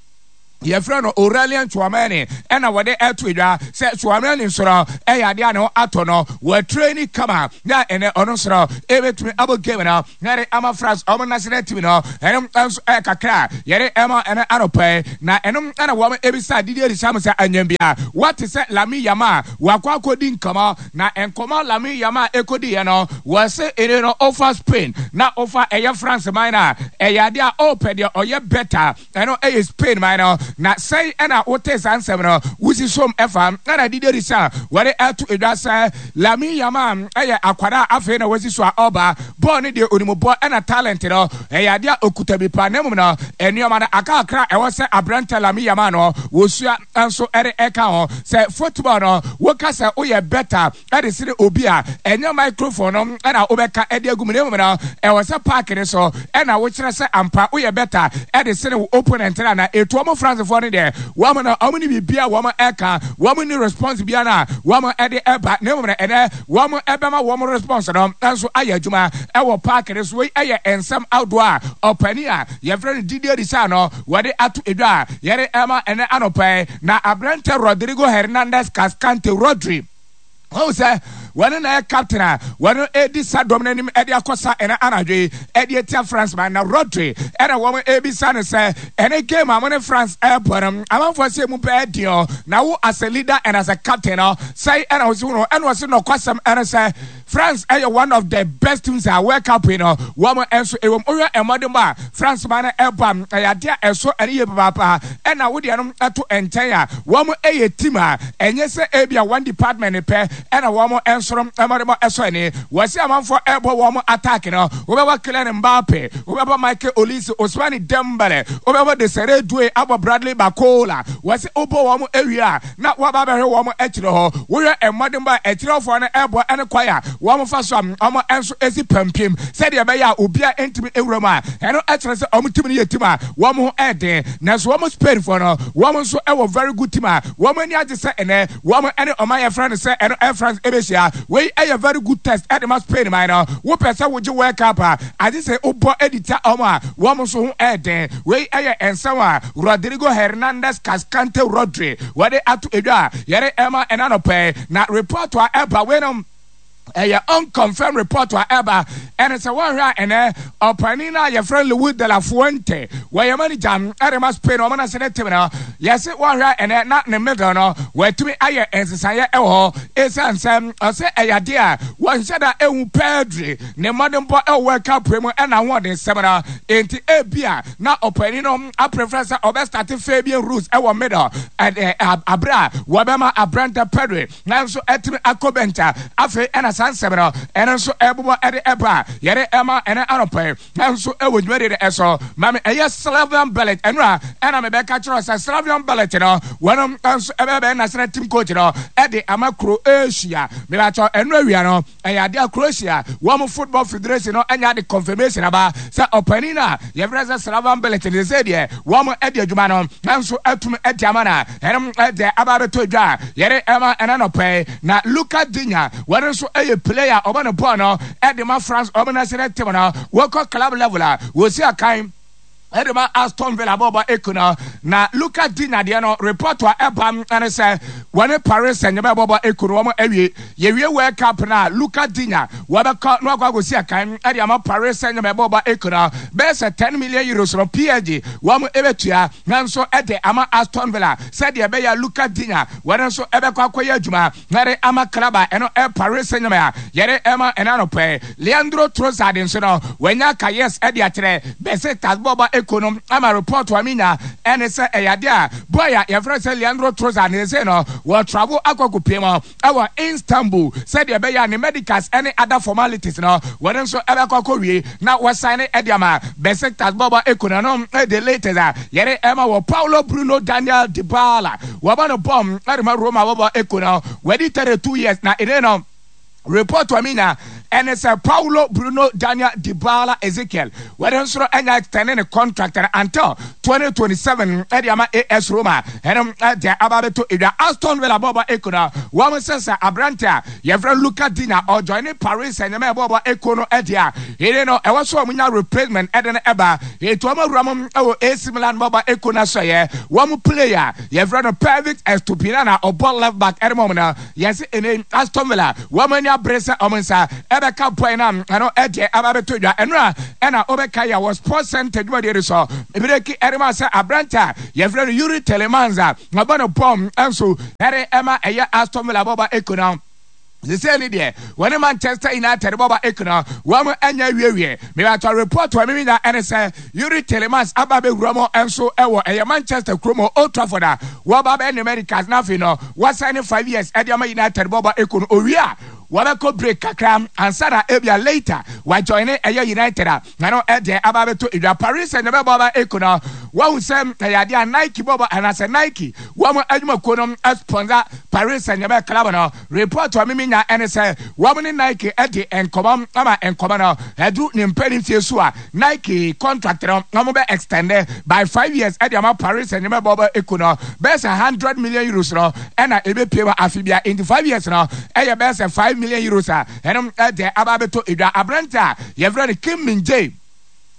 Yɛfrɛ no Aurelien Tchouameni ɛna wɔde ɛto dwa sɛ Tchouameni nso no ɛyɛ adeɛ a ne ho atɔ no, wɔatraini kama na ɛnɛ ɔno nso no ɛbɛtumi abɔ game no na ɛde ama France ɔmo national team no. Ɛno nso ɛyɛ kakra a yɛde ɛma ɛnɛ anɔpa yi. Na ɛno ɛna wɔn ɛbisa Didier Deschamps sɛ anyam bia wate sɛ Lamine Yamal wakɔ akɔdi nkɔmɔ, na nkɔmɔ Lamine Yamal ɛkɔdiiɛ no wɔse ɛne no ɔfa Spain na ɔfa ɛyɛ France man no a ɛyɛ adeɛ a ɔpɛ deɛ ɔyɛ better. Ɛno yɛ Spain man no. Na sɛn na wotee saa nsɛm no? Wusi som fa na Didier Deschamps wɔde ato dwa sɛ Lamine Yamal yɛ akwadaa a afei na wasi so a ɔreba. Bɔɔl no deɛ onim bɔ ɛna talent no ɛyɛ adeɛ a okuta bi paa na mmom no nneɛma no aka kakra a ɛwɔ sɛ aberante Lamine Yamal no wɔsua nso de ɛka ho. Sɛ football no woka sɛ woyɛ better de sene obi a, ɛnyɛ microphone no na wobɛka de agu mu na mmom no, ɛwɔ sɛ park no so na wokyerɛ sɛ ampa woyɛ better de sene wo opponent no anaa. Ɛtu wɔn Francefoɔ no deɛ, wɔn no, wɔn nni biribiara a wɔn ɛka, wɔn nni response biara no a wɔn de ɛba, na mmom no ɛnɛ wɔn ɛbɛma wɔn response no nso ayɛ adwuma wɔ park no so. Wei yɛ nsɛm ahodoɔ a ɔpanin a yɛfrɛ no Didier Deschamps no wɔde ato dwa a yɛde ɛma ɛnɛ anɔpa yi. Na aberanteɛ Rodrigo Hernandez Cascante, Rodri, Wahu sɛ wɔne na yɛ captain a wɔn redi sa dɔm no anim de akɔ sa ɛnɛ anadwo yi de atia France man. Na Rodri ɛna wɔn rebisa no sɛ ɛne game a mo ne France ɛrebɔ no amanfoɔ sɛ emu bɛyɛ den o, na wo as a leader and as a captain no sɛe ɛna wosi wo no? Ɛna ɔse nɔkwasɛm ɛne sɛ France ɛyɛ one of the best teams a World Cup yi no wɔn nso ɛwɔ mu. Wohwɛ mmɔdenbɔ a France man no ɛbɔ a, ɛyɛ adeɛ a ɛsɔ ani yie papaapa. Ɛna wo deɛ no ɛto nkyɛn a, wɔn ɛyɛ team a ɛnyɛ sɛ ebia one department pɛ ɛna wɔn nso no mmɔdenbɔ ɛsɔ ani. Wɔsi amanfoɔ ɛbɔ wɔn attack no, wobɛbɔ Kylian Mbappe, wobɛbɔ Michael Olise, Ousmane Dembele, wobɛbɔ Desiree Doué, abɔ Bradley Barcola. Wɔsi wobɔ wɔn awie a, na wɔaba abɛhwɛ wɔn akyire hɔ. Wohwɛ mmɔdenbɔ a akyirɛwfoɔ no rebɔ ne kwan a wɔfa so a wɔn nso si pampim sɛdeɛ ɛbɛyɛ a obiara ntumi nwura mu a, ɛno kyerɛ sɛ wɔn team no yɛ team a wɔn ho yɛ den. Nanso wɔn Spainfoɔ no, wɔn nso wɔ very good team a wɔn ani agye sɛ ɛnnɛ wɔn ne ɔman a yɛfrɛ no sɛ ɛno Air France bɛhyia. Wei yɛ very good test de ma Spain man no. Wopɛ sɛ wogye World Cup a, agye sɛ wobɔ de tia wɔn a wɔn nso ho yɛ den. Wei yɛ nsɛm a Rodrigo Hernandez Cascante Rodri wɔde ato dwa a yɛde rema ɛna anɔpa yi. Na report a ɛba wei no ɛyɛ unconfirmed report a ɛba ɛne sɛ wɔhwɛ a ɛnɛ ɔpanin no a yɛfrɛ no Luis de la Fuente wɔyɛ manager ɛde ma Spain wɔn ase ne team no yɛse wɔhwɛ a ɛnɛ na ne middle no wɔatumi ayɛ nsesaeɛ ɛwɔ hɔ ɛsiane sɛ ɔsɛ ɛyɛ adeɛ a wɔnhyɛ da ɛhu Pedri ne mmɔdenbɔ ɛwɔ World Cup mu ɛna ahoɔdensɛm no enti ebia na ɔpanin no aprefrɛ sɛ ɔbɛstate Fabian Ruiz wɔ middle ɛde abere a wɔbɛma aberante Pedri nanso atumi akɔ bench a afei ɛna saa nsɛm no ɛno nso ɛbobɔ ɛde ɛba a yɛde ɛma ɛnɛ anɔpa yi nanso ɛwɔ dwumadie no ɛso ma me ɛyɛ Slavian Bilic ɛno a ɛna mebɛka kyerɛ sɛ Slavian Bilic no wɔnom nso ɛbɛbɛyɛ national team coach no ɛde ama Croatia mebakyɛ ɛno awia no Ɛyɛ ade a Croatia wɔn football federation no anya de confirmation aba sɛ ɔpanin no a yɛfrɛ sɛ Slaven Bilic no sesei deɛ wɔn adi adwuma no nso atum adi ama no a ɛno deɛ aba abɛtɔ dwa a yɛde ɛma ɛna nɔpɛ yi. Na Lucas Digne wɔn nso yɛ player a ɔbɔ ne bɔɔl no de ma France wɔn national team no wɔkɔ club level a wɔsi akan ɛde ma Aston Villa bɔɔlbɔ ekuo no. Na Lucas Digne deɛ no report a ɛba ɛne sɛ wɔne Paris Saint-Germain bɔɔlbɔ ekuo no wɔn awie. Yɛwie World Cup no a Lucas Digne wɔbɛkɔ na wakɔ akɔsi akan ɛde ama Paris Saint-Germain bɔɔlbɔ ekuo no bɛyɛ sɛ 10 million euros no PSG wɔn ɛbɛtua nanso ɛde ama Aston Villa sɛdeɛ ɛbɛyɛ a Lucas Digne wɔn nso ɛbɛkɔ akɔyɛ adwuma Yɛde ama club a ɛno ɛ Paris Saint-Germain a yɛde ɛma ɛna anɔpa yi. Leandro Trossard nso no, wanya ka yes de akyerɛ Besiktas bɔɔlbɔ ekuo no ama report a menya ɛne sɛ ɛyɛ adeɛ a boy a yɛfrɛ no sɛ Leandro Trossard no seesei no wɔ travel akɔ akɔpue mu ɛwɔ Istanbul sɛdeɛ ɛbɛyɛ a ne medicals ɛne other formalities no wɔn nso ɛbɛkɔ akɔwie na wɔsan de ama Besiktas bɔɔlbɔ ekuo no. Ɛno ɛyɛ the latest a yɛde ɛma wɔ Paulo Bruno Daniel Dybala. Wɔbɔ no bɔm de ma Roma bɔbɔ eko no. Wadi 32 years na ene no report a menya ɛne sɛ Paulo Bruno Daniel Dybala Ezekiel wɔde nso no anya extend ne contract no until 2027 ɛde ama AS Roma ɛno ɛde aba abɛtɔ edwa. Aston Villa bɔɔbɔ eko no wɔn sɛ sɛ aberante a yɛfrɛ Luca Digne ɔjoine Paris Saint-Germain bɔɔbɔ eko no ɛde a ɛne no ɛwɔ so wɔn nya replacement ɛde no ɛba etu wɔn awura mu ɛwɔ AC Milan bɔɔbɔ eko no asɔyɛ wɔn player yɛfrɛ no Pervis Estupiñán a ɔbɔ left back ɛde mɔm no yɛse ɛne Aston Villa wɔn ani abere sɛ wɔn nsa ɛbɛka boy no a ɛno ɛdeɛ aba bɛtɔ dwa ɛno a ɛna wobɛka yɛ wɔ Sports Center dwumadie no so emireki ɛde ma sɛ aberante a yɛfrɛ no Yuri Tielemans a ɔbɔ no bɔm ɛnso ɛde ɛma ɛyɛ Aston Villa bɔba eko no sesei ne deɛ wɔne Manchester United bɔba eko no wɔn anya awiewie. Mebatɔ report wɔ mimi nya ɛne sɛ Yuri Tielemans aba bɛwura mu nso ɛwɔ ɛyɛ Manchester kurom hɔ Old Trafford a wɔba bɛyɛ ne medicals na afei no wɔsan ne 5 years ɛde ama United bɔba eko no owie a wɔbɛkɔ break kakra ansa na ebia later wajoine ɛyɛ United a ɛno ɛdeɛ aba abɛtɔ edwa. Paris Saint-Germain bɔba eko no wɔhu sɛ ɛyɛ adeɛ a Nike bɔbɔ anaasɛ Nike wɔn adwumakuo no sponsor Paris Saint-Germain club no. Report a mimi nya ɛne sɛ wɔn ne Nike ɛde nkɔmɔ ama nkɔmɔ no ɛduru ne mpanin fie so a Nike contract no wɔn bɛ extend by 5 years ɛde ama Paris Saint-Germain bɔbɔ eko no bɛyɛ sɛ €100 million no ɛna ebepie mu afi bia nti 5 years no ɛyɛ bɛyɛ sɛ €5 million a ɛno ɛde aba abɛtɔ edwa. Aberante a yɛfrɛ no Kim Min Jae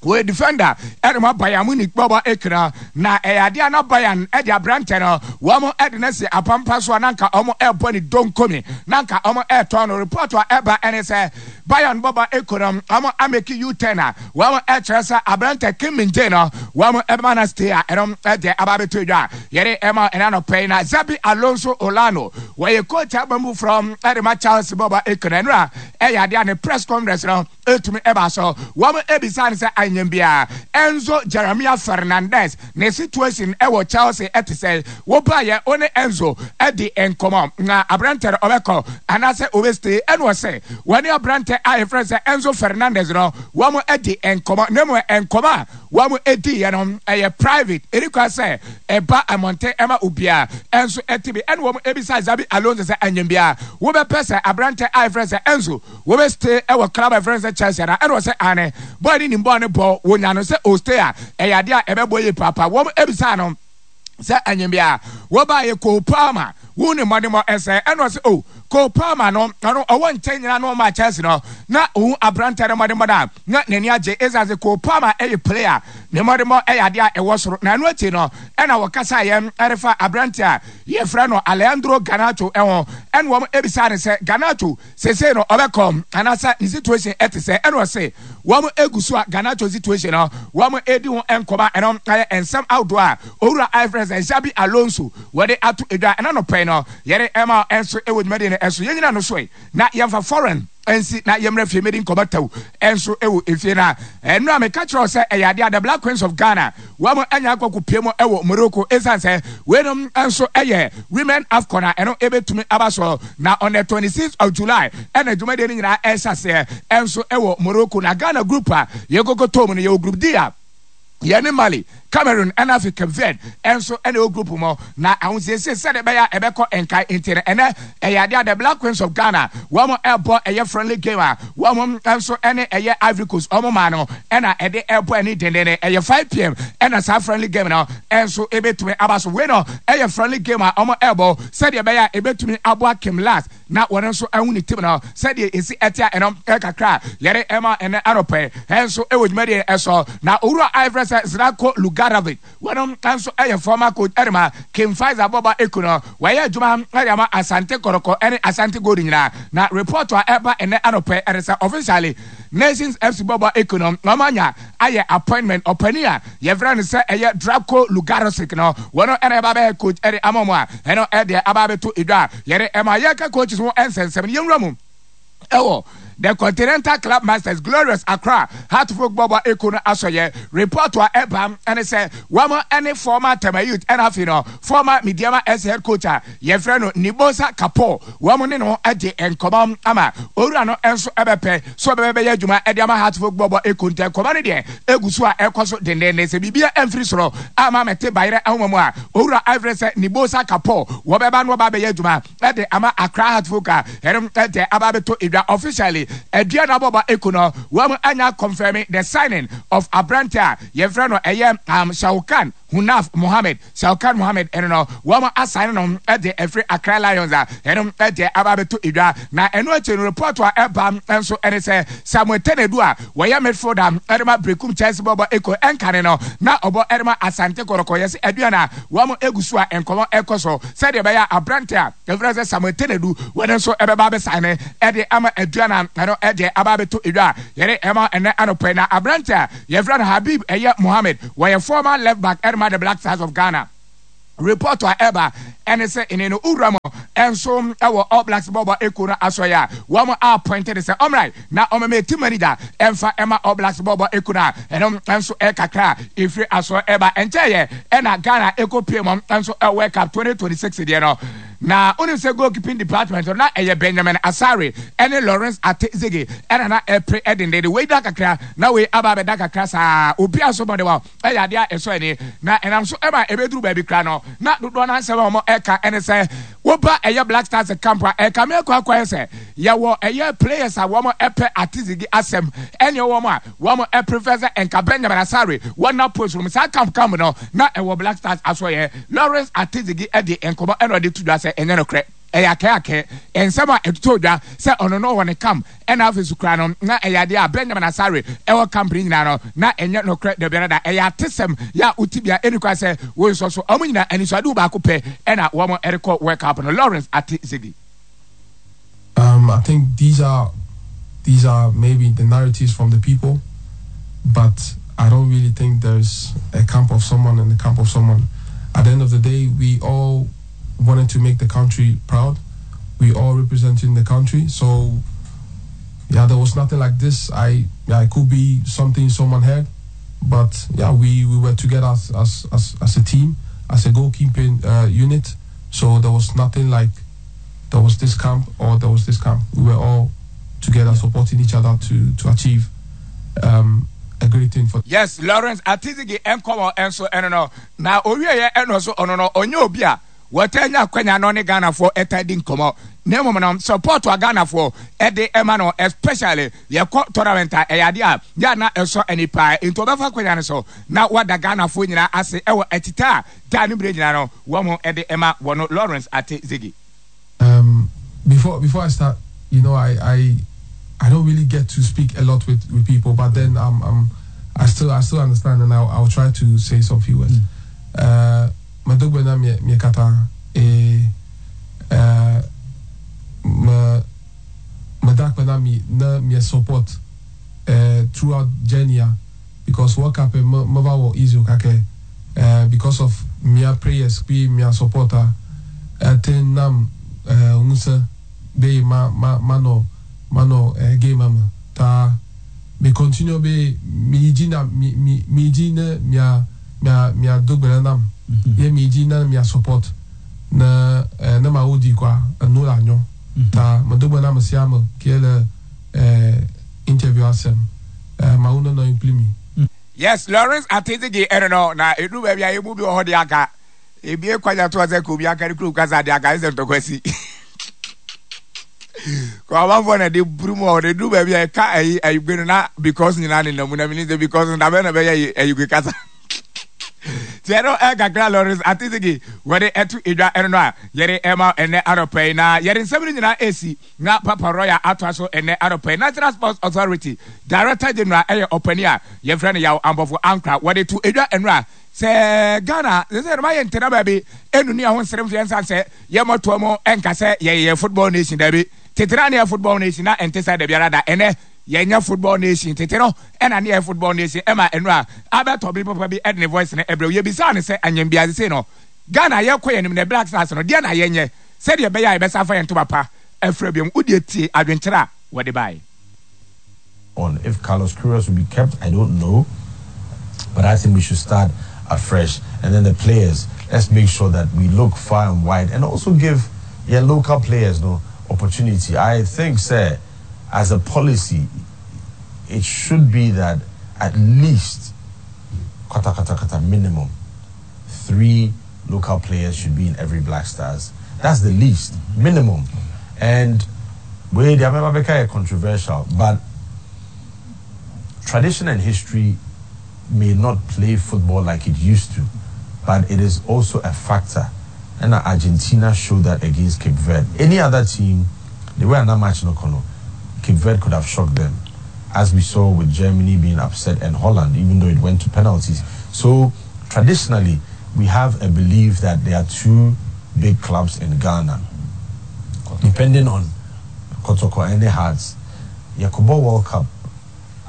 wɔyɛ defender ɛde ma Bayern Munich bɔbɔ ekura na ɛyɛ adeɛ a na Bayern ɛde aberante no wɔn ɛde no si apampa so a na nka wɔn ɛrebɔ ne donkomi na nka wɔn ɛretɔn no. Report a ɛba ɛne sɛ Bayern bɔbɔ ekura wɔn amake U-turn a wɔn ɛkyerɛ sɛ aberante Kim Min Jae no wɔn ɛbɛma no stay a ɛno ɛde aba abɛtɔ edwa a yɛde ɛma ɛna nɔpɛ yi. Na Xabi Alonso Olano wɔyɛ coach abamu from ɛde ma Chelsea bɔbɔ ekura ɛno a ɛyɛ adeɛ a ne press conference no etumi ɛba so wɔn ebisa no sɛ anyam bia Enzo Jeremia Fernandez ne situation ɛwɔ Chelsea ɛte sɛ wobaayɛ wo ne Enzo ɛdi nkɔmɔ na aberante no ɔbɛkɔ anaasɛ ɔbɛstay. Ɛna ɔsɛ wɔne aberante a yɛfrɛ sɛ Enzo Fernandez no wɔn ɛdi nkɔmɔ na mmom nkɔmɔ a wɔn ɛdi yɛ no ɛyɛ private, ɛni kwa sɛ ɛba mmɔnten ɛma obiara ɛnso ɛte bi. Ɛna wɔn ebisa Xabi Alonso sɛ anyam bia wobɛpɛ sɛ aberante a yɛfrɛ sɛ Enzo wɔbɛstay ɛwɔ club a yɛfrɛ sɛ Chelsea ana? Ɛna ɔsɛ ane bɔɔl ne nim bɔɔl ne bɔ wɔnya no sɛ ɔstay a ɛyɛ adeɛ a ɛbɛbɔ yie paapa. Wɔn ebisa no sɛ anyam bia wɔbaayɛ Cole Palmer wo ne mmɔdemmɔ ɛsɛ? Ɛna ɔsɛ o Cole Palmer no ɔno ɔwɔ nkyɛn nyinaa no ɔma Chelsea no na ohun aberante no mmɔdemmɔ no a na n'ani agye ɛsiane sɛ Cole Palmer ɛyɛ player ne mmɔdemmɔ ɛyɛ adeɛ a ɛwɔ soro. Na ɛno akyi no ɛna wɔkasa yɛn ɛrefa aberante a yɛfrɛ no Alejandro Garnacho ɛho ɛna wɔn ebisa ne sɛ Garnacho sese no ɔbɛkɔ anaasɛ ne situation ɛte sɛ? Ɛna ɔse wɔn egu so a Garnacho situation no wɔn edi ho nkɔmɔ. Ɛno ɛyɛ nsɛm ahodoɔ a owura ayɛfrɛ sɛ Xabi Alonso wɔde ato edwa ɛna nɔpɛ no yɛde ɛma ɛnso ɛwɔ dwumadie no ɛso. Yɛn nyina no so yi na yɛmfa foreign nsi na yɛmmerɛ fie medi nkɔmɔ taw ɛnso ɛwɔ efie na ɛno a meka kyerɛw sɛ ɛyɛ adeɛ a the Black Queens of Ghana wɔn anya akɔkɔ pie mu ɛwɔ Morocco ɛsiane sɛ weinom nso ɛyɛ Women AFCON a ɛno ɛbɛtumi aba so na on the 26th of July ɛna dwumadie no nyinaa ɛhyɛ aseɛ ɛnso ɛwɔ Morocco. Na Ghana group a yɛkɔkɔ tɔɔ mu no, yɛwɔ group D a yɛne Mali, Cameroon ɛna afei Cape Verde ɛnso ɛna ɛwɔ group mu. Na ahosiesie sɛdeɛ ɛbɛyɛ a ɛbɛkɔ nkae nti no ɛnɛ ɛyɛ adeɛ a the Black Queens of Ghana wɔn ɛbɔ ɛyɛ friendly game a wɔn nso ɛne ɛyɛ Ivory Coast wɔn maa no ɛna ɛde ɛbɔ ɛne dendenne. Ɛyɛ 5 p.m. ɛna saa friendly game no ɛnso ɛbɛtumi aba so. Wei no ɛyɛ friendly game a wɔn ɛbɔ sɛdeɛ ɛbɛyɛ a ɛbɛtumi aboa Kim Lars na wɔn nso ahu ne team no sɛdeɛ esi ɛte a ɛno ɛkakra yɛde ɛma ɛnɛ anɔpɛ ɛnso ɛwɔ dwumadie ɛsɔ. Na owura a yɛfrɛ sɛ Zlatko Lugarovic wɔn nso ɛyɛ former coach ɛde ma King Faisal bɔba eku no wɔyɛ adwuma ɛde ama Asante Kɔtɔkɔ ɛne Asante Gold nyinaa. Na report a ɛba ɛnɛ anɔpɛ ɛde sɛ officially Nations FC bɔba eku no wɔn anya ayɛ appointment ɔpanin a yɛfrɛ no sɛ ɛyɛ Zdravko Lugarosic no wɔn ɛna ɛba bɛyɛ coach ɛde ama wɔn a ɛno ɛdeɛ aba abɛto edwa a yɛde ɛma yɛka coaches ho nsɛnsɛm no. Yɛnwura mu ɛwɔ the Continental Club Masters Glorious Accra Hearts of Oak bɔbɔ eko no asɔyɛ. Report a ɛba ɛne sɛ wɔn ɛne former Tema Youth ɛna afei no former Medeama S head coach a yɛfrɛ no Nibosa Kapo wɔn ne no ɛde nkɔmɔ ama owura no nso ɛbɛpɛ so ɔbɛbɛyɛ adwuma ɛde ama Hearts of Oak bɔbɔ eko. Ntɛ nkɔmɔ no deɛ egu so a ɛkɔ so dendenden sɛ biribi ɛmfiri soro ama mɛte bayerɛ ahoma mu a owura ayɛfrɛ sɛ Nibosa Kapo wɔbɛba no ɔba abɛyɛ adwuma ɛde ama Accra Hearts of Oak a ɛno ɛde aba abɛtɔ edwa officially. Aduana Bɔbɔ Eko no wɔn anya confirm the signing of aberante a yɛfrɛ no ɛyɛ um, Shaukan Hunaf Mohammed Shaukan Mohammed ɛno no wɔn asan no de afiri Accra Lions a ɛno de aba abɛto edwa na ɛno akyi no report a ɛba nso ɛne sɛ Samuel Tenedu a wɔyɛ midfielder ɛde ma Berekum Chelsea bɔbɔ Eko ɛnkane no na ɔbɔ ɛde ma Asante Kɔtɔkɔ yɛse Aduana wɔn egu so a nkɔmɔ ɛkɔ so sɛdeɛ ɛbɛyɛ a aberante a yɛfrɛ sɛ Samuel Tenedu wɔn nso ɛbɛba abɛsan ne ɛde ama Aduana ɛno ɛde aba abɛto edwa a yɛde ɛma ɛnɛ anɔpɛ yi na aberante a Yɛfrɛ no Habib ɛyɛ Mohammed, wɔyɛ former left back ɛde ma the Black Stars of Ghana. Report a ɛba ɛne sɛ ɛne no owura mu nso ɛwɔ All Blacks bɔɔlbɔ ekuo no asɔeɛ a wɔn appointed sɛ ɔmmra na ɔmmɛmɛ team manager ɛmfa ɛma All Blacks bɔɔlbɔ ekuo no a ɛno nso ɛkakra a ɛfiri asoɔ ɛba ɛnkyɛeɛ ɛna Ghana ɛkɔ pie mu nso ɛwɔ World Cup 2026 deɛ no. Na wonim sɛ goalkeeping department no na ɛyɛ Benjamin Asare ne Lawrence Ate-Zigi ɛna na ɛpere dendenden. Wei da kakra na wei aba abɛda kakra saa. Obiara nso mmɔden wɔ ɛyɛ adeɛ a ɛsɔ ani. Na ɛnam so ma ɛbɛduru baabi koraa no, na dodoɔ no ara nsɛm a wɔka ne sɛ woba ɛyɛ Black Stars camp a, ɛkame akɔ akɔyɛ sɛ yɛwɔ ɛyɛ players a wɔpɛ Ate-Zigi asɛm ɛne wɔn a Wɔn prefer sɛ nka Benjamin Asare wɔ na post no mu. Saa camp camp no na ɛwɔ Black Stars asoɛeɛ. Lawrence Atizigi de nkɔmmɔ ɛna ɔde to dwa sɛ ɛnyɛ nokorɛ. Ɛyɛ akɛakɛ nsɛm a ɛtotɔɔ dwa sɛ ɔno no wɔ ne camp ɛna afei so koraa no na ɛyɛ adeɛ a Benjamin Asare ɛwɔ camp no nyinaa no na ɛnyɛ nokorɛ dabiara da. Ɛyɛ atesɛm yɛ a wote bia ɛnni kwan sɛ wonsɔ so. Wɔn nyinaa anisoadehu baako pɛ ɛna wɔn rekɔ World Cup no. Lawrence Atizigi. Um, I think these are these are maybe the narratives from the people, but I don't really think there's a camp of someone and a camp of someone. At the end of the day, we all wanted to make the country proud. We all representing the country, so yeah, there was nothing like this. I yeah, it could be something someone heard, but yeah, we, we were together as as, as, as a team, as a goalkeeping unit. So there was nothing like there was this camp or there was this camp. We were all together supporting each other to to achieve um, a great thing for. Yes, Lawrence Atizigi nkɔmɔ nso ɛno no na owieɛ ɛno nso ɔno no ɔnyɛ obi a wɔtaa nya akwanya na ɔne Ghanafoɔ ɛtaa di nkɔmɔ na mmom no support a Ghanafoɔ ɛde ɛma no especially yɛkɔ tournament a ɛyɛ adeɛ a yɛ a na ɛsɔ ani paa nti ɔbɛfa akwanya no so na wada Ghanafoɔ nyinaa ase ɛwɔ atita a daa ne berɛ nyinaa no wɔn de ma wɔn Lawrence Ate Zigi. Um, before before I start, you know, I I I don't really get to speak a lot with, with people, but then um, um I still I still understand, and I'll, I'll try to say some few words. Mm. Uh, Madogbe na mi mi kata e uh, ma madakpe na mi na mi support uh, throughout journey because World Cup me me va wɔ easy o kakɛ eh because of mia prayers kpi mia support a ete nam eh ŋusẽ be ma ma ma nɔ ma nɔ eh game me ta me continue be mi yi dzi na mi mi mi yi dzi ne mia mia mia do gbe ɖe nam ye mi yi dzi ne mia support ne eh ne ma wo di kɔa enu la nyɔ ta me do gbe na amesiame ke le eh interview asem. Eh, Mawu no nɔ nkpli mi. Yes, Lawrence Atizigi ɛno no na ɛduru baabi a yɛmu bi wɔ hɔ de aka ebie kwanya to sɛ ka obi aka ne kurom kasa de aka sɛ ntɔkwa si kɔ amanfoɔ na de buru mu a ɔde duru baabi a ɛka ayi ayigbe no na because nyinaa ne nam mu na menim sɛ because dabɛ na bɛyɛ ayigbe kasa nti ɛno ɛkakra Lawrence Atizigi wɔde ɛto edwa ɛno no a yɛde ɛma ɛnɛ anɔpa yi na yɛde nsɛm no nyinaa ɛsi Na Papa Royal atoa so ɛnnɛ anɔpa yi. National Sports Authority Director General yɛ ɔpanin a yɛfrɛ no Yaw Ampofo Ankrah. Wɔde to dwa nnora sɛ Ghana sɛsɛ no mayɛ ntena baabi ɛnnu ne ho nsere mfeɛ nsan sɛ yɛmmɔtoa mu ɛnka sɛ yɛyɛ football nation daabi. Tete na ne yɛ football nation na ɛnte sɛ dabiara da. Ɛnnɛ yɛnyɛ football nation. Tete no ɛna ne yɛ football nation ɛma nnora Albert Obi papa bi ɛde ne voice no ɛbrɛ wo. Yɛbisaa no sɛ anyɛmbiaa sesei no Ghana yɛkɔ yɛn anim na Black Stars no deɛ na yɛnyɛ Sɛdeɛ ɛbɛyɛ a yɛbɛsan afa yɛn ntoma pa afira bio. Wo deɛ tie adwenkyerɛ a wɔde baeɛ. On if Carlos Queiroz will be kept I don't know but I think we should start afresh and then the players let's make sure that we look far and wide and also give yɛn local players no opportunity I think sɛ as a policy it should be that at least kata kata kata minimum 3 local players should be in every Black Stars. That's the least, minimum. And Wei deɛ mɛba bɛka yɛ controversial but tradition and history may not play football like it used to but it is also a factor ɛna Argentina showed that against Cape Verde. Any other team the way a na match no kɔ no Cape Verde could have shocked them as we saw with Germany being upset and Holland even though it went to penalties. So traditionally we have a belief that there are two big clubs in Ghana depending on Kotoko and the Hearts. Yɛkɔbɔ World Cup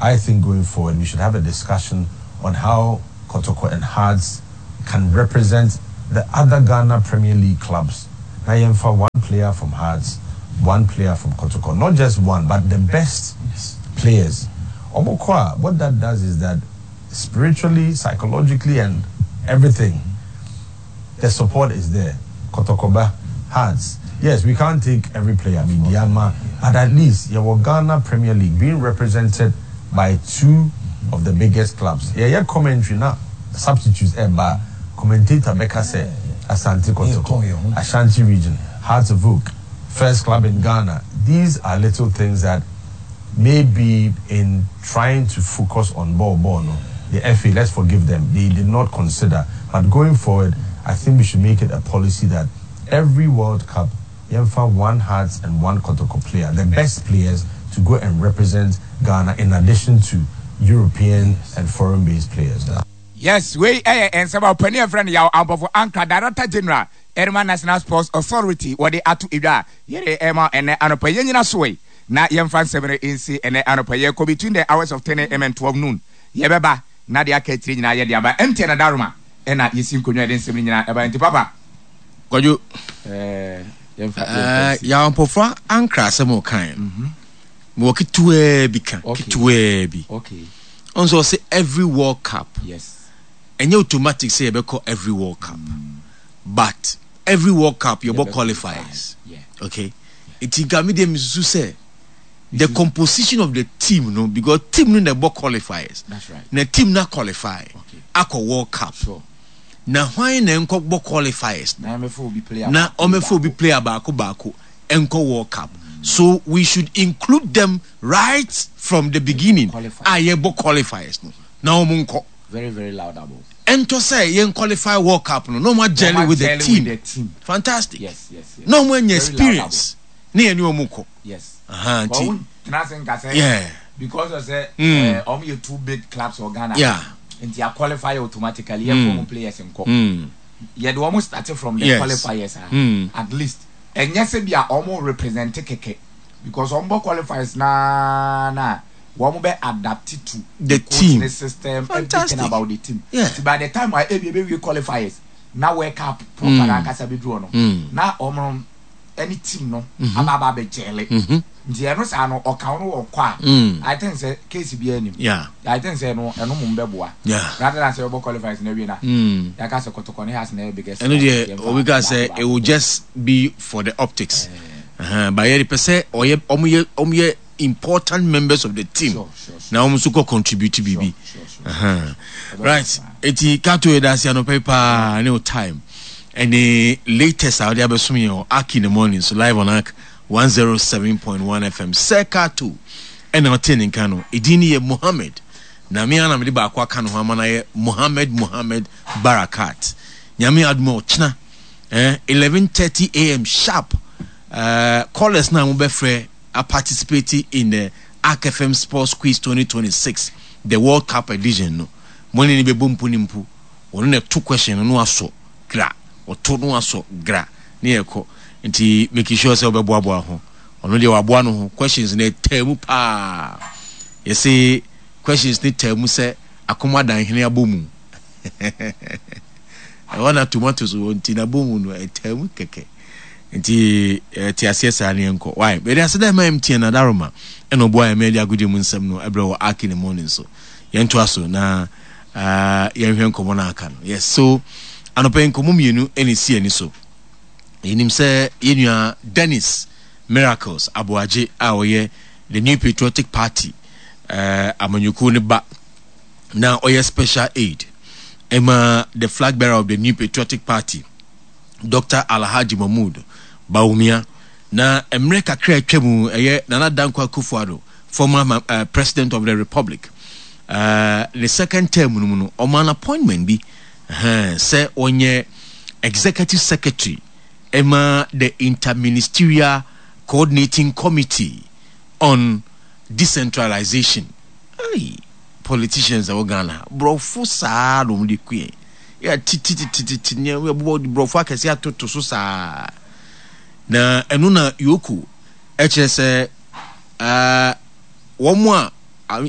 I think going forward we should have a discussion on how Kotoko and Hearts can represent the other Ghana Premier League clubs na yɛnfa one player from Hearts, one player from Kotoko, not just one but the best players. Wɔn kɔ a what that does is that spiritually, psychologically and everything the support is there. Kotoko ba, Hearts, yes we can't take every player, Medeama, but at least yɛwɔ Ghana Premier League being represented by two of the biggest clubs. Yɛyɛ commentary na substitutes ɛreba a, commentator bɛka sɛ Asante Kotoko, Ashanti Region, Hearts of Oak, first club in Ghana. These are little things that maybe in trying to focus on ball ball no, the FA, let's forgive them, they did not consider. But going forward, I think we should make it a policy that every World Cup, yɛmfa one Hearts and one Kotoko player, the best players to go and represent Ghana in addition to European and foreign based players. Yes, wei yɛ nsɛm a ɔpanin a yɛfrɛ no Yaw Ampofo Ankrah, Director General ɛrema National Sports Authority wɔde ato edwa a yɛde rema ɛnnɛ anɔpa yi. Yɛnnyina so ɛ na yɛmfa nsɛm no nsi ɛnnɛ anɔpa yi. Yɛrekɔ between the hours of 10 am and 12 noon. Yɛbɛba na deɛ aka akyire nyinaa yɛde aba. MTN Adaroma ɛna yɛsi nkonnwa yɛde nsɛm no nyinaa ɛba. Nti papa. Kwadwo, Ɛɛ, yɛmfa yɛmfa eh, nsi. Yaw Ampofo Ankrah asɛm a ɔkae no, mewɔ ketewaa bi ka, Okay. ketewaa bi. Okay. Ɔn sɛ ɔse every world cup. Yes. Ɛnyɛ automatic sɛ yɛbɛkɔ every world cup. But every world cup yɛbɔ qualifiers. Yeah. Okay. Nti nka me deɛ mesusu sɛ the composition of the team no because team no na ɛbɔ qualifiers. That's right. Na team na qualify Okay. akɔ world cup. Sure. Na hwan na ɛnkɔ bɔ qualifiers no? Na ɔmɛfa obi player Na baako ɔmɛfa obi baako. player baako baako ɛnkɔ world cup. So we should include them right from the beginning Qualifiers. a yɛbɔ qualifiers no na wɔn nkɔ. Very very laudable. Ɛntɔ sɛ yɛn qualify world cup no na wɔn Wɔn agyɛle with the agyɛle with team. the team. Fantastic. Yes yes yes. Na wɔn anya Very experience ne yɛne wɔn kɔ. Yes. Aha nti. Wɔn tena ase nka sɛ. Yeah. Because of sɛ. Mm. Eh, wɔn yɛ two big clubs wɔ Ghana. Yeah. Nti a qualify automatically yɛn fɔ wɔn players nkɔ. Mm. Yɛde wɔn start from the Yes. qualifiers a. Mm. At least ɛnyɛ sɛ bi a wɔn represent kɛkɛ because wɔn bɔ qualifiers naa na wɔn bɛ adapt to The coach team. ne system Fantastic. everything about the team. Yeah. Nti by the time a ebi ebe wie qualifiers na World Cup proper mm. ankasa bi duro no Mm. na wɔn ɛne team no aba aba abɛ gyɛle. Mhm. Nti ɛno saa no ɔka no wɔ kɔ a Mm. I think sɛ case bi anim. Yeah. I think sɛ ɛno ɛno mo bɛboa. Yeah. Rather than sɛ ɔbɔ qualifiers na wie na. Mm. Yaka sɛ Kotoko ne Hearts na ɛyɛ biggest. Ɛno deɛ Yɛmfa obi ka sɛ baako it will baako. just be for the optics. Uh-huh. But yɛde pɛ sɛ ɔyɛ ɔmo yɛ ɔmo yɛ important members of the team. Sure, sure, sure. Na ɔmo nso kɔ contribute biribi. Sure, sure, sure. Uh-huh. Right. Eti Kato yɛ daase anɔpa yi paa ne o time ɛne latest a ɔde abɛsom yɛn wɔ Ark in the morning so live on Ark 107.1 FM. Sir Kato ɛna ɔte ne nka no. Edin no yɛ Mohammed. Na me ara na mede baako aka ne ho ama no ayɛ Mohammed Mohammed Barakat. Nyame adom a ɔkyena eh, 11:30 am sharp eh, callers na mobɛfrɛ a participate in the Ark FM Sports Quiz 2026 the World Cup edition no mo ne ne bɛbɔ mpo ne mpo ɔno na ɛto question no na wasɔ gra ɔto no wasɔ gra ne yɛkɔ nti make sure sɛ wobɛboaboa ho ɔno deɛ waboa no ho questions no ɛtaa mu paa yɛse questions no taa mu sɛ akoma danhene abɔ mu ɛhɔ na tomatoes wɔ nti na bɔ mu no ɛtaa mu kɛkɛ nti ɛte aseɛ saa ne yɛnkɔ why bɛde ase dɛ ma MTN adaroma ɛna ɔboa yɛn ma yɛde agodie mu nsɛm no ɛbrɛ wɔ Ark in the morning so yɛntoa so na uh, yɛnhwɛ nkɔmmɔ no aka no yes so anɔpa yi nkɔmmɔ mmienu ɛna ɛsi ani so yɛnim sɛ yɛnua Dennis Miracles Aboagye a ɔyɛ the New Patriotic Party uh, amanyɔkuo no ba na ɔyɛ special aid ɛma the flag bearer of the New Patriotic Party Dr. Alhaji Mahmood Bawumia. Na mmerɛ kakra a atwa mu, ɛyɛ Nana Dankwa Akufo-Addo, former uh, President of the Republic, uh, ne second term no mu no, ɔmaa no appointment bi uh, sɛ ɔnyɛ Executive Secretary ɛma the Interministerial Coordinating Committee on Decentralization. Hey, politicians ɛwɔ Ghana, borɔfo saa na wɔn de ku yɛn. Yɛ tititititi nneɛma yɛbobɔ borɔfo akɛse atoto so saa. Na ɛno na Yoko ɛkyerɛ sɛ uh, wɔn a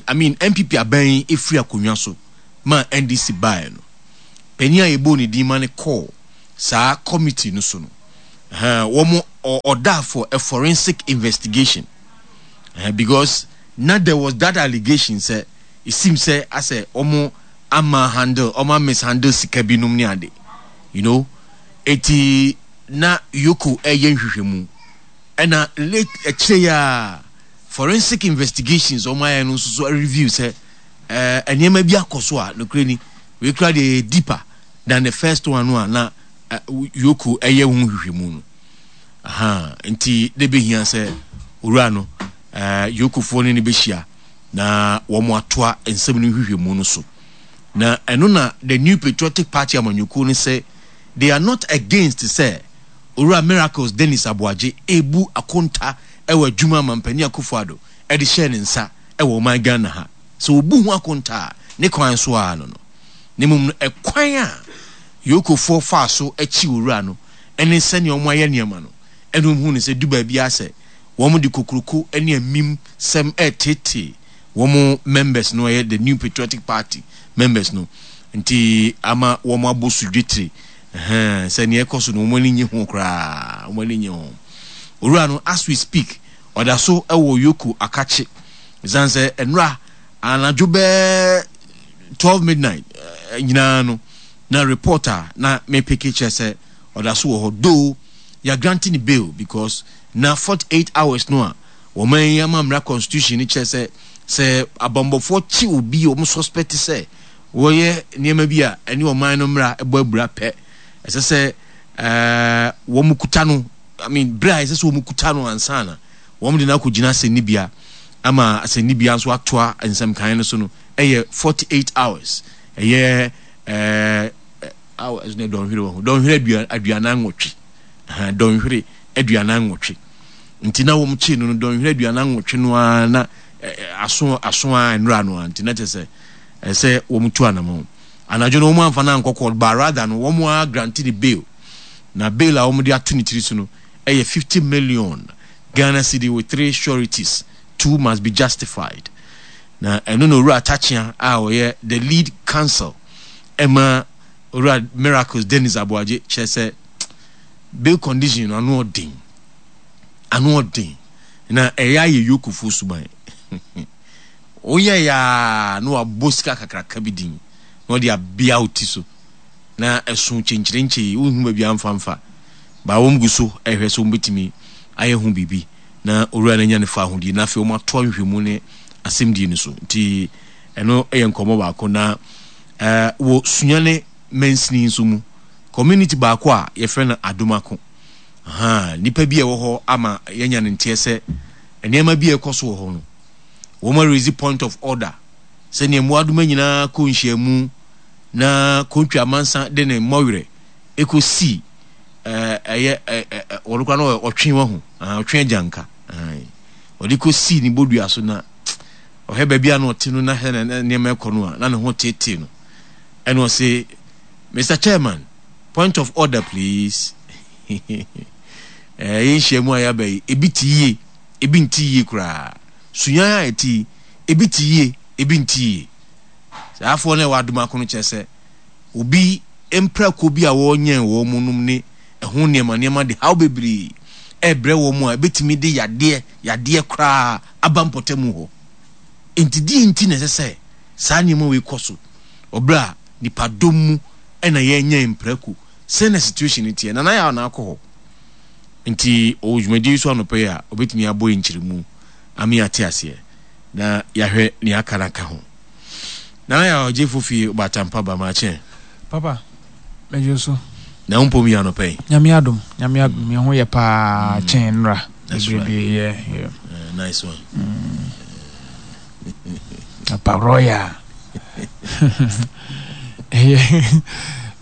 I mean NPP aban yi efiri akonnwa so ma NDC baeɛ no, panyin a yɛbɔɔ ne din ma no kɔɔ saa committee no so no, uh, wɔn ɔda for a forensic investigation uh, because na there was that allegation sɛ it seems sɛ asɛ wɔn ama handle wɔn mishandle sika binom ne ade you know eti na Yoko ɛyɛ nhwehwɛmu ɛna late akyire yi a forensic investigations wɔn ayɛ no nso so review sɛ ɛɛ nneɛma bi akɔ so a nokorɛ ni wei kura deɛ yɛ deeper than the first one no a na Yoko ɛyɛ ho nhwehwɛmu no aha nti de behia sɛ owura no ɛɛ Yokofoɔ ne ne bɛhyia na wɔn atoa nsɛm no nhwehwɛmu no so na ɛno na the New Patriotic Party amanyɔkuo no sɛ they are not against sɛ Owura Miracles Dennis Aboagye rebu akonta wɔ adwuma a Mampanin Akufo Addo de hyɛɛ ne nsa wɔ ɔman Ghana ha. Sɛ ɔbu ho akonta a, ne kwan so ara no no. Na mmom no, ɛkwan a Yokofoɔ faa so kyi Owura no ne sɛnea wɔayɛ nneɛma no, ɛna wɔhuu no sɛ du baabi ara sɛ wɔde kokuroko ne amim sɛm reteetee wɔn members no, ɛyɛ the New Patriotic Party members no, nti ama wɔn abɔ so dwetire. Ɛhɛn, sɛ nea ɛkɔ so no wɔn ani nye ho koraa, wɔn ani nye ho. Owura no, as we speak, ɔda so wɔ Yoko akakye. Ɛsiane sɛ nnora anadwo bɛɛ 12 midnight eh, nyinaa no, na report a na mepeke kyerɛ sɛ ɔda so wɔ hɔ. Though, yɛ grante ne bail because na 48 hours no a wɔn yi ama mmara constitution no kyerɛ sɛ sɛ abambɔfoɔ kye obi a wɔn suspect sɛ wɔyɛ nneɛma bi a ɛne ɔman no mmara bɔ abira pɛ, ɛsɛ sɛ ɛɛ wɔn kuta no, I mean, bere a ɛsɛ sɛ wɔn kuta no ansa na wɔn de no akɔgyina asɛnnibea ama asɛnnibea nso atoa nsɛm kan no so no ɛyɛ 48 hours, ɛyɛ ɛɛ hours ne dɔnhwere wɔ ho, dɔnhwere 48, dɔnhwere 48. Nti na wɔn kye no no dɔnhwere 48 no ara na aso aso ara nnura no ara nti na kyerɛ sɛ ɛsɛ wɔn tu anamɔn. Anadwo no wɔn amfa no ankɔ court but rather no wɔn ara grante ne bail. Na bail a wɔn de ato ne tiri so no ɛyɛ 50 million Ghana cedi with three sureties, two must be justified. Na ɛno na Owura Takyea a ɔyɛ the lead counsel ɛma Owura Miracles Dennis Aboagye kyerɛ sɛ bail condition no ano ɔden. Ano ɔden. Na ɛyɛ ayɛ Yokofoɔ suban. Woyɛe ara na wabɔ sika kakraka bi din na ɔde abea wo ti so na ɛso kyenkyerenkyee, wonhu baabi amfa mfa. Baa wɔn gu so rehwɛ sɛ wɔbɛtumi ayɛ ho biribi na owura no anya ne fahodie na afei wɔatoa nhwehwɛmu ne asɛmdie no so. Nti ɛno yɛ nkɔmmɔ baako. Na eh, wɔ Sunyani mansini nso mu, community baako a yɛfrɛ no Adomako. Aha, nnipa bi a ɛwɔ hɔ ama yɛanya no nteɛ sɛ nneɛma bi a ɛkɔ so wɔ hɔ no, wɔn arezi point of order sɛnea mmoadoma nyinaa kɔ nhyiamu na Kontwi Amansa de ne mmɔwerɛ ɛkɔsi ɛyɛ wɔn koraa no ɔtwe wahu ɔtwe agyanka ɔde kɔsi ne bodua so na ɔhwɛ baabi a na ɔte no na hwɛ na nneɛma ɛkɔ no a na ne ho tetee no ɛna ɔse Mr. Chairman, point of order please. Ɛyɛ nhyiamu a yɛaba yi ebi te yie ebi nte yie koraa. Suyan a ɛte yi, ebi te yie, ebi nte yie. Saa afoɔ no a ɛwɔ Adomako no kyerɛ sɛ obi mprako bi a wɔnyɛn wɔn mu nom ne ɛho nneɛma nneɛma de haw bebree ɛrebrɛ wɔn a ɛbɛtumi de yadeɛ yadeɛ koraa aba mpɔtamu hɔ. Enti deɛ nti na ɛsɛ sɛ saa nneɛma wei kɔ so wɔ berɛ a nipadɔm mu na yɛnyɛn mprako? Sɛn na situation no teɛ? Nana Yaw na akɔ hɔ. Nti ɔwɔ dwumadie yi so anɔpa yi a, ɔbɛtumi abɔ yɛn nkyerɛmu ama yɛate aseɛ na yɛahwɛ nea aka no aka ho. Nana Yaw Ɔgyefo fie Ɔbaatampa ba makyɛ. Papa, mɛgye wo so. Na wo mpom yɛ anɔpa yi? Nyame adom, Nyame adom, me ho yɛ paa mm. kyɛn nnora. Bebrebe, yeah, yeah. Nice one. Apa royal. Ɛyɛ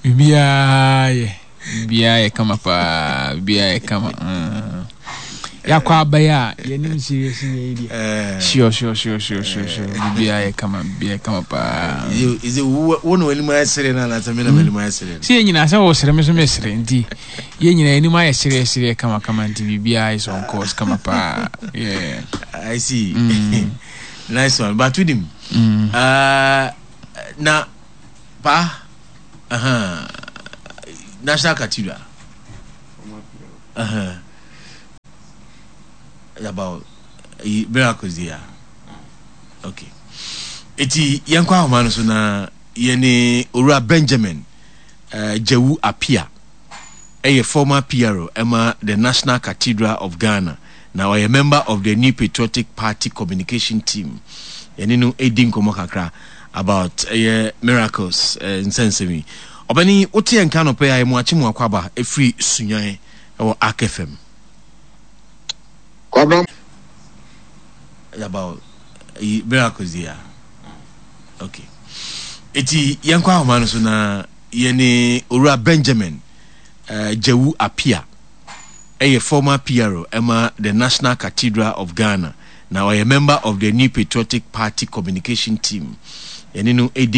biribiara yɛ biribiara yɛ kama paa biribiara yɛ kama. Mm. Yɛakɔ abɛyɛ a yɛnim serious yɛ yi deɛ. Eh. Sure sure sure sure sure sure biribiara yɛ kama biribiara yɛ kama paa. Is it wo na w'anim ayɛ sere no anaasɛ me na m'anim ayɛ sere no? Sɛ yɛn nyinaa sɛ wɔsere me so mesere nti yɛn nyinaa anim ayɛ sereɛ sereɛ kama kama nti biribiara is on course kama paa. Yeah. I see. Mm. Nice one. But wonim. Mm. Na pa uh -huh. National Cathedral. Uh -huh. About miracles yeah. Okay. Eti yɛnkɔ ahoma no so na yɛne Owura Benjamin Gyewu Appiah ɛyɛ former PRO ɛma the National Cathedral of Ghana na ɔyɛ member of the New Patriotic Party communication team. Yɛne no ɛdi nkɔmmɔ kakra about ɛyɛ miracles nsɛnsɛm yi. Ɔbɛni wote yɛn nka anɔpa yi a yɛmu akye mu akwaba ɛfiri Sunyan ɛwɔ Ark FM. Kwabena. About miracles yi a. Okay. Eti yɛnkɔ ahoma no so na yɛne Owura Benjamin Gyewu Appiah ɛyɛ former PRO ɛma the National Cathedral of Ghana na ɔyɛ member of the New Patriotic Party communication team. Yɛne no ɛdi.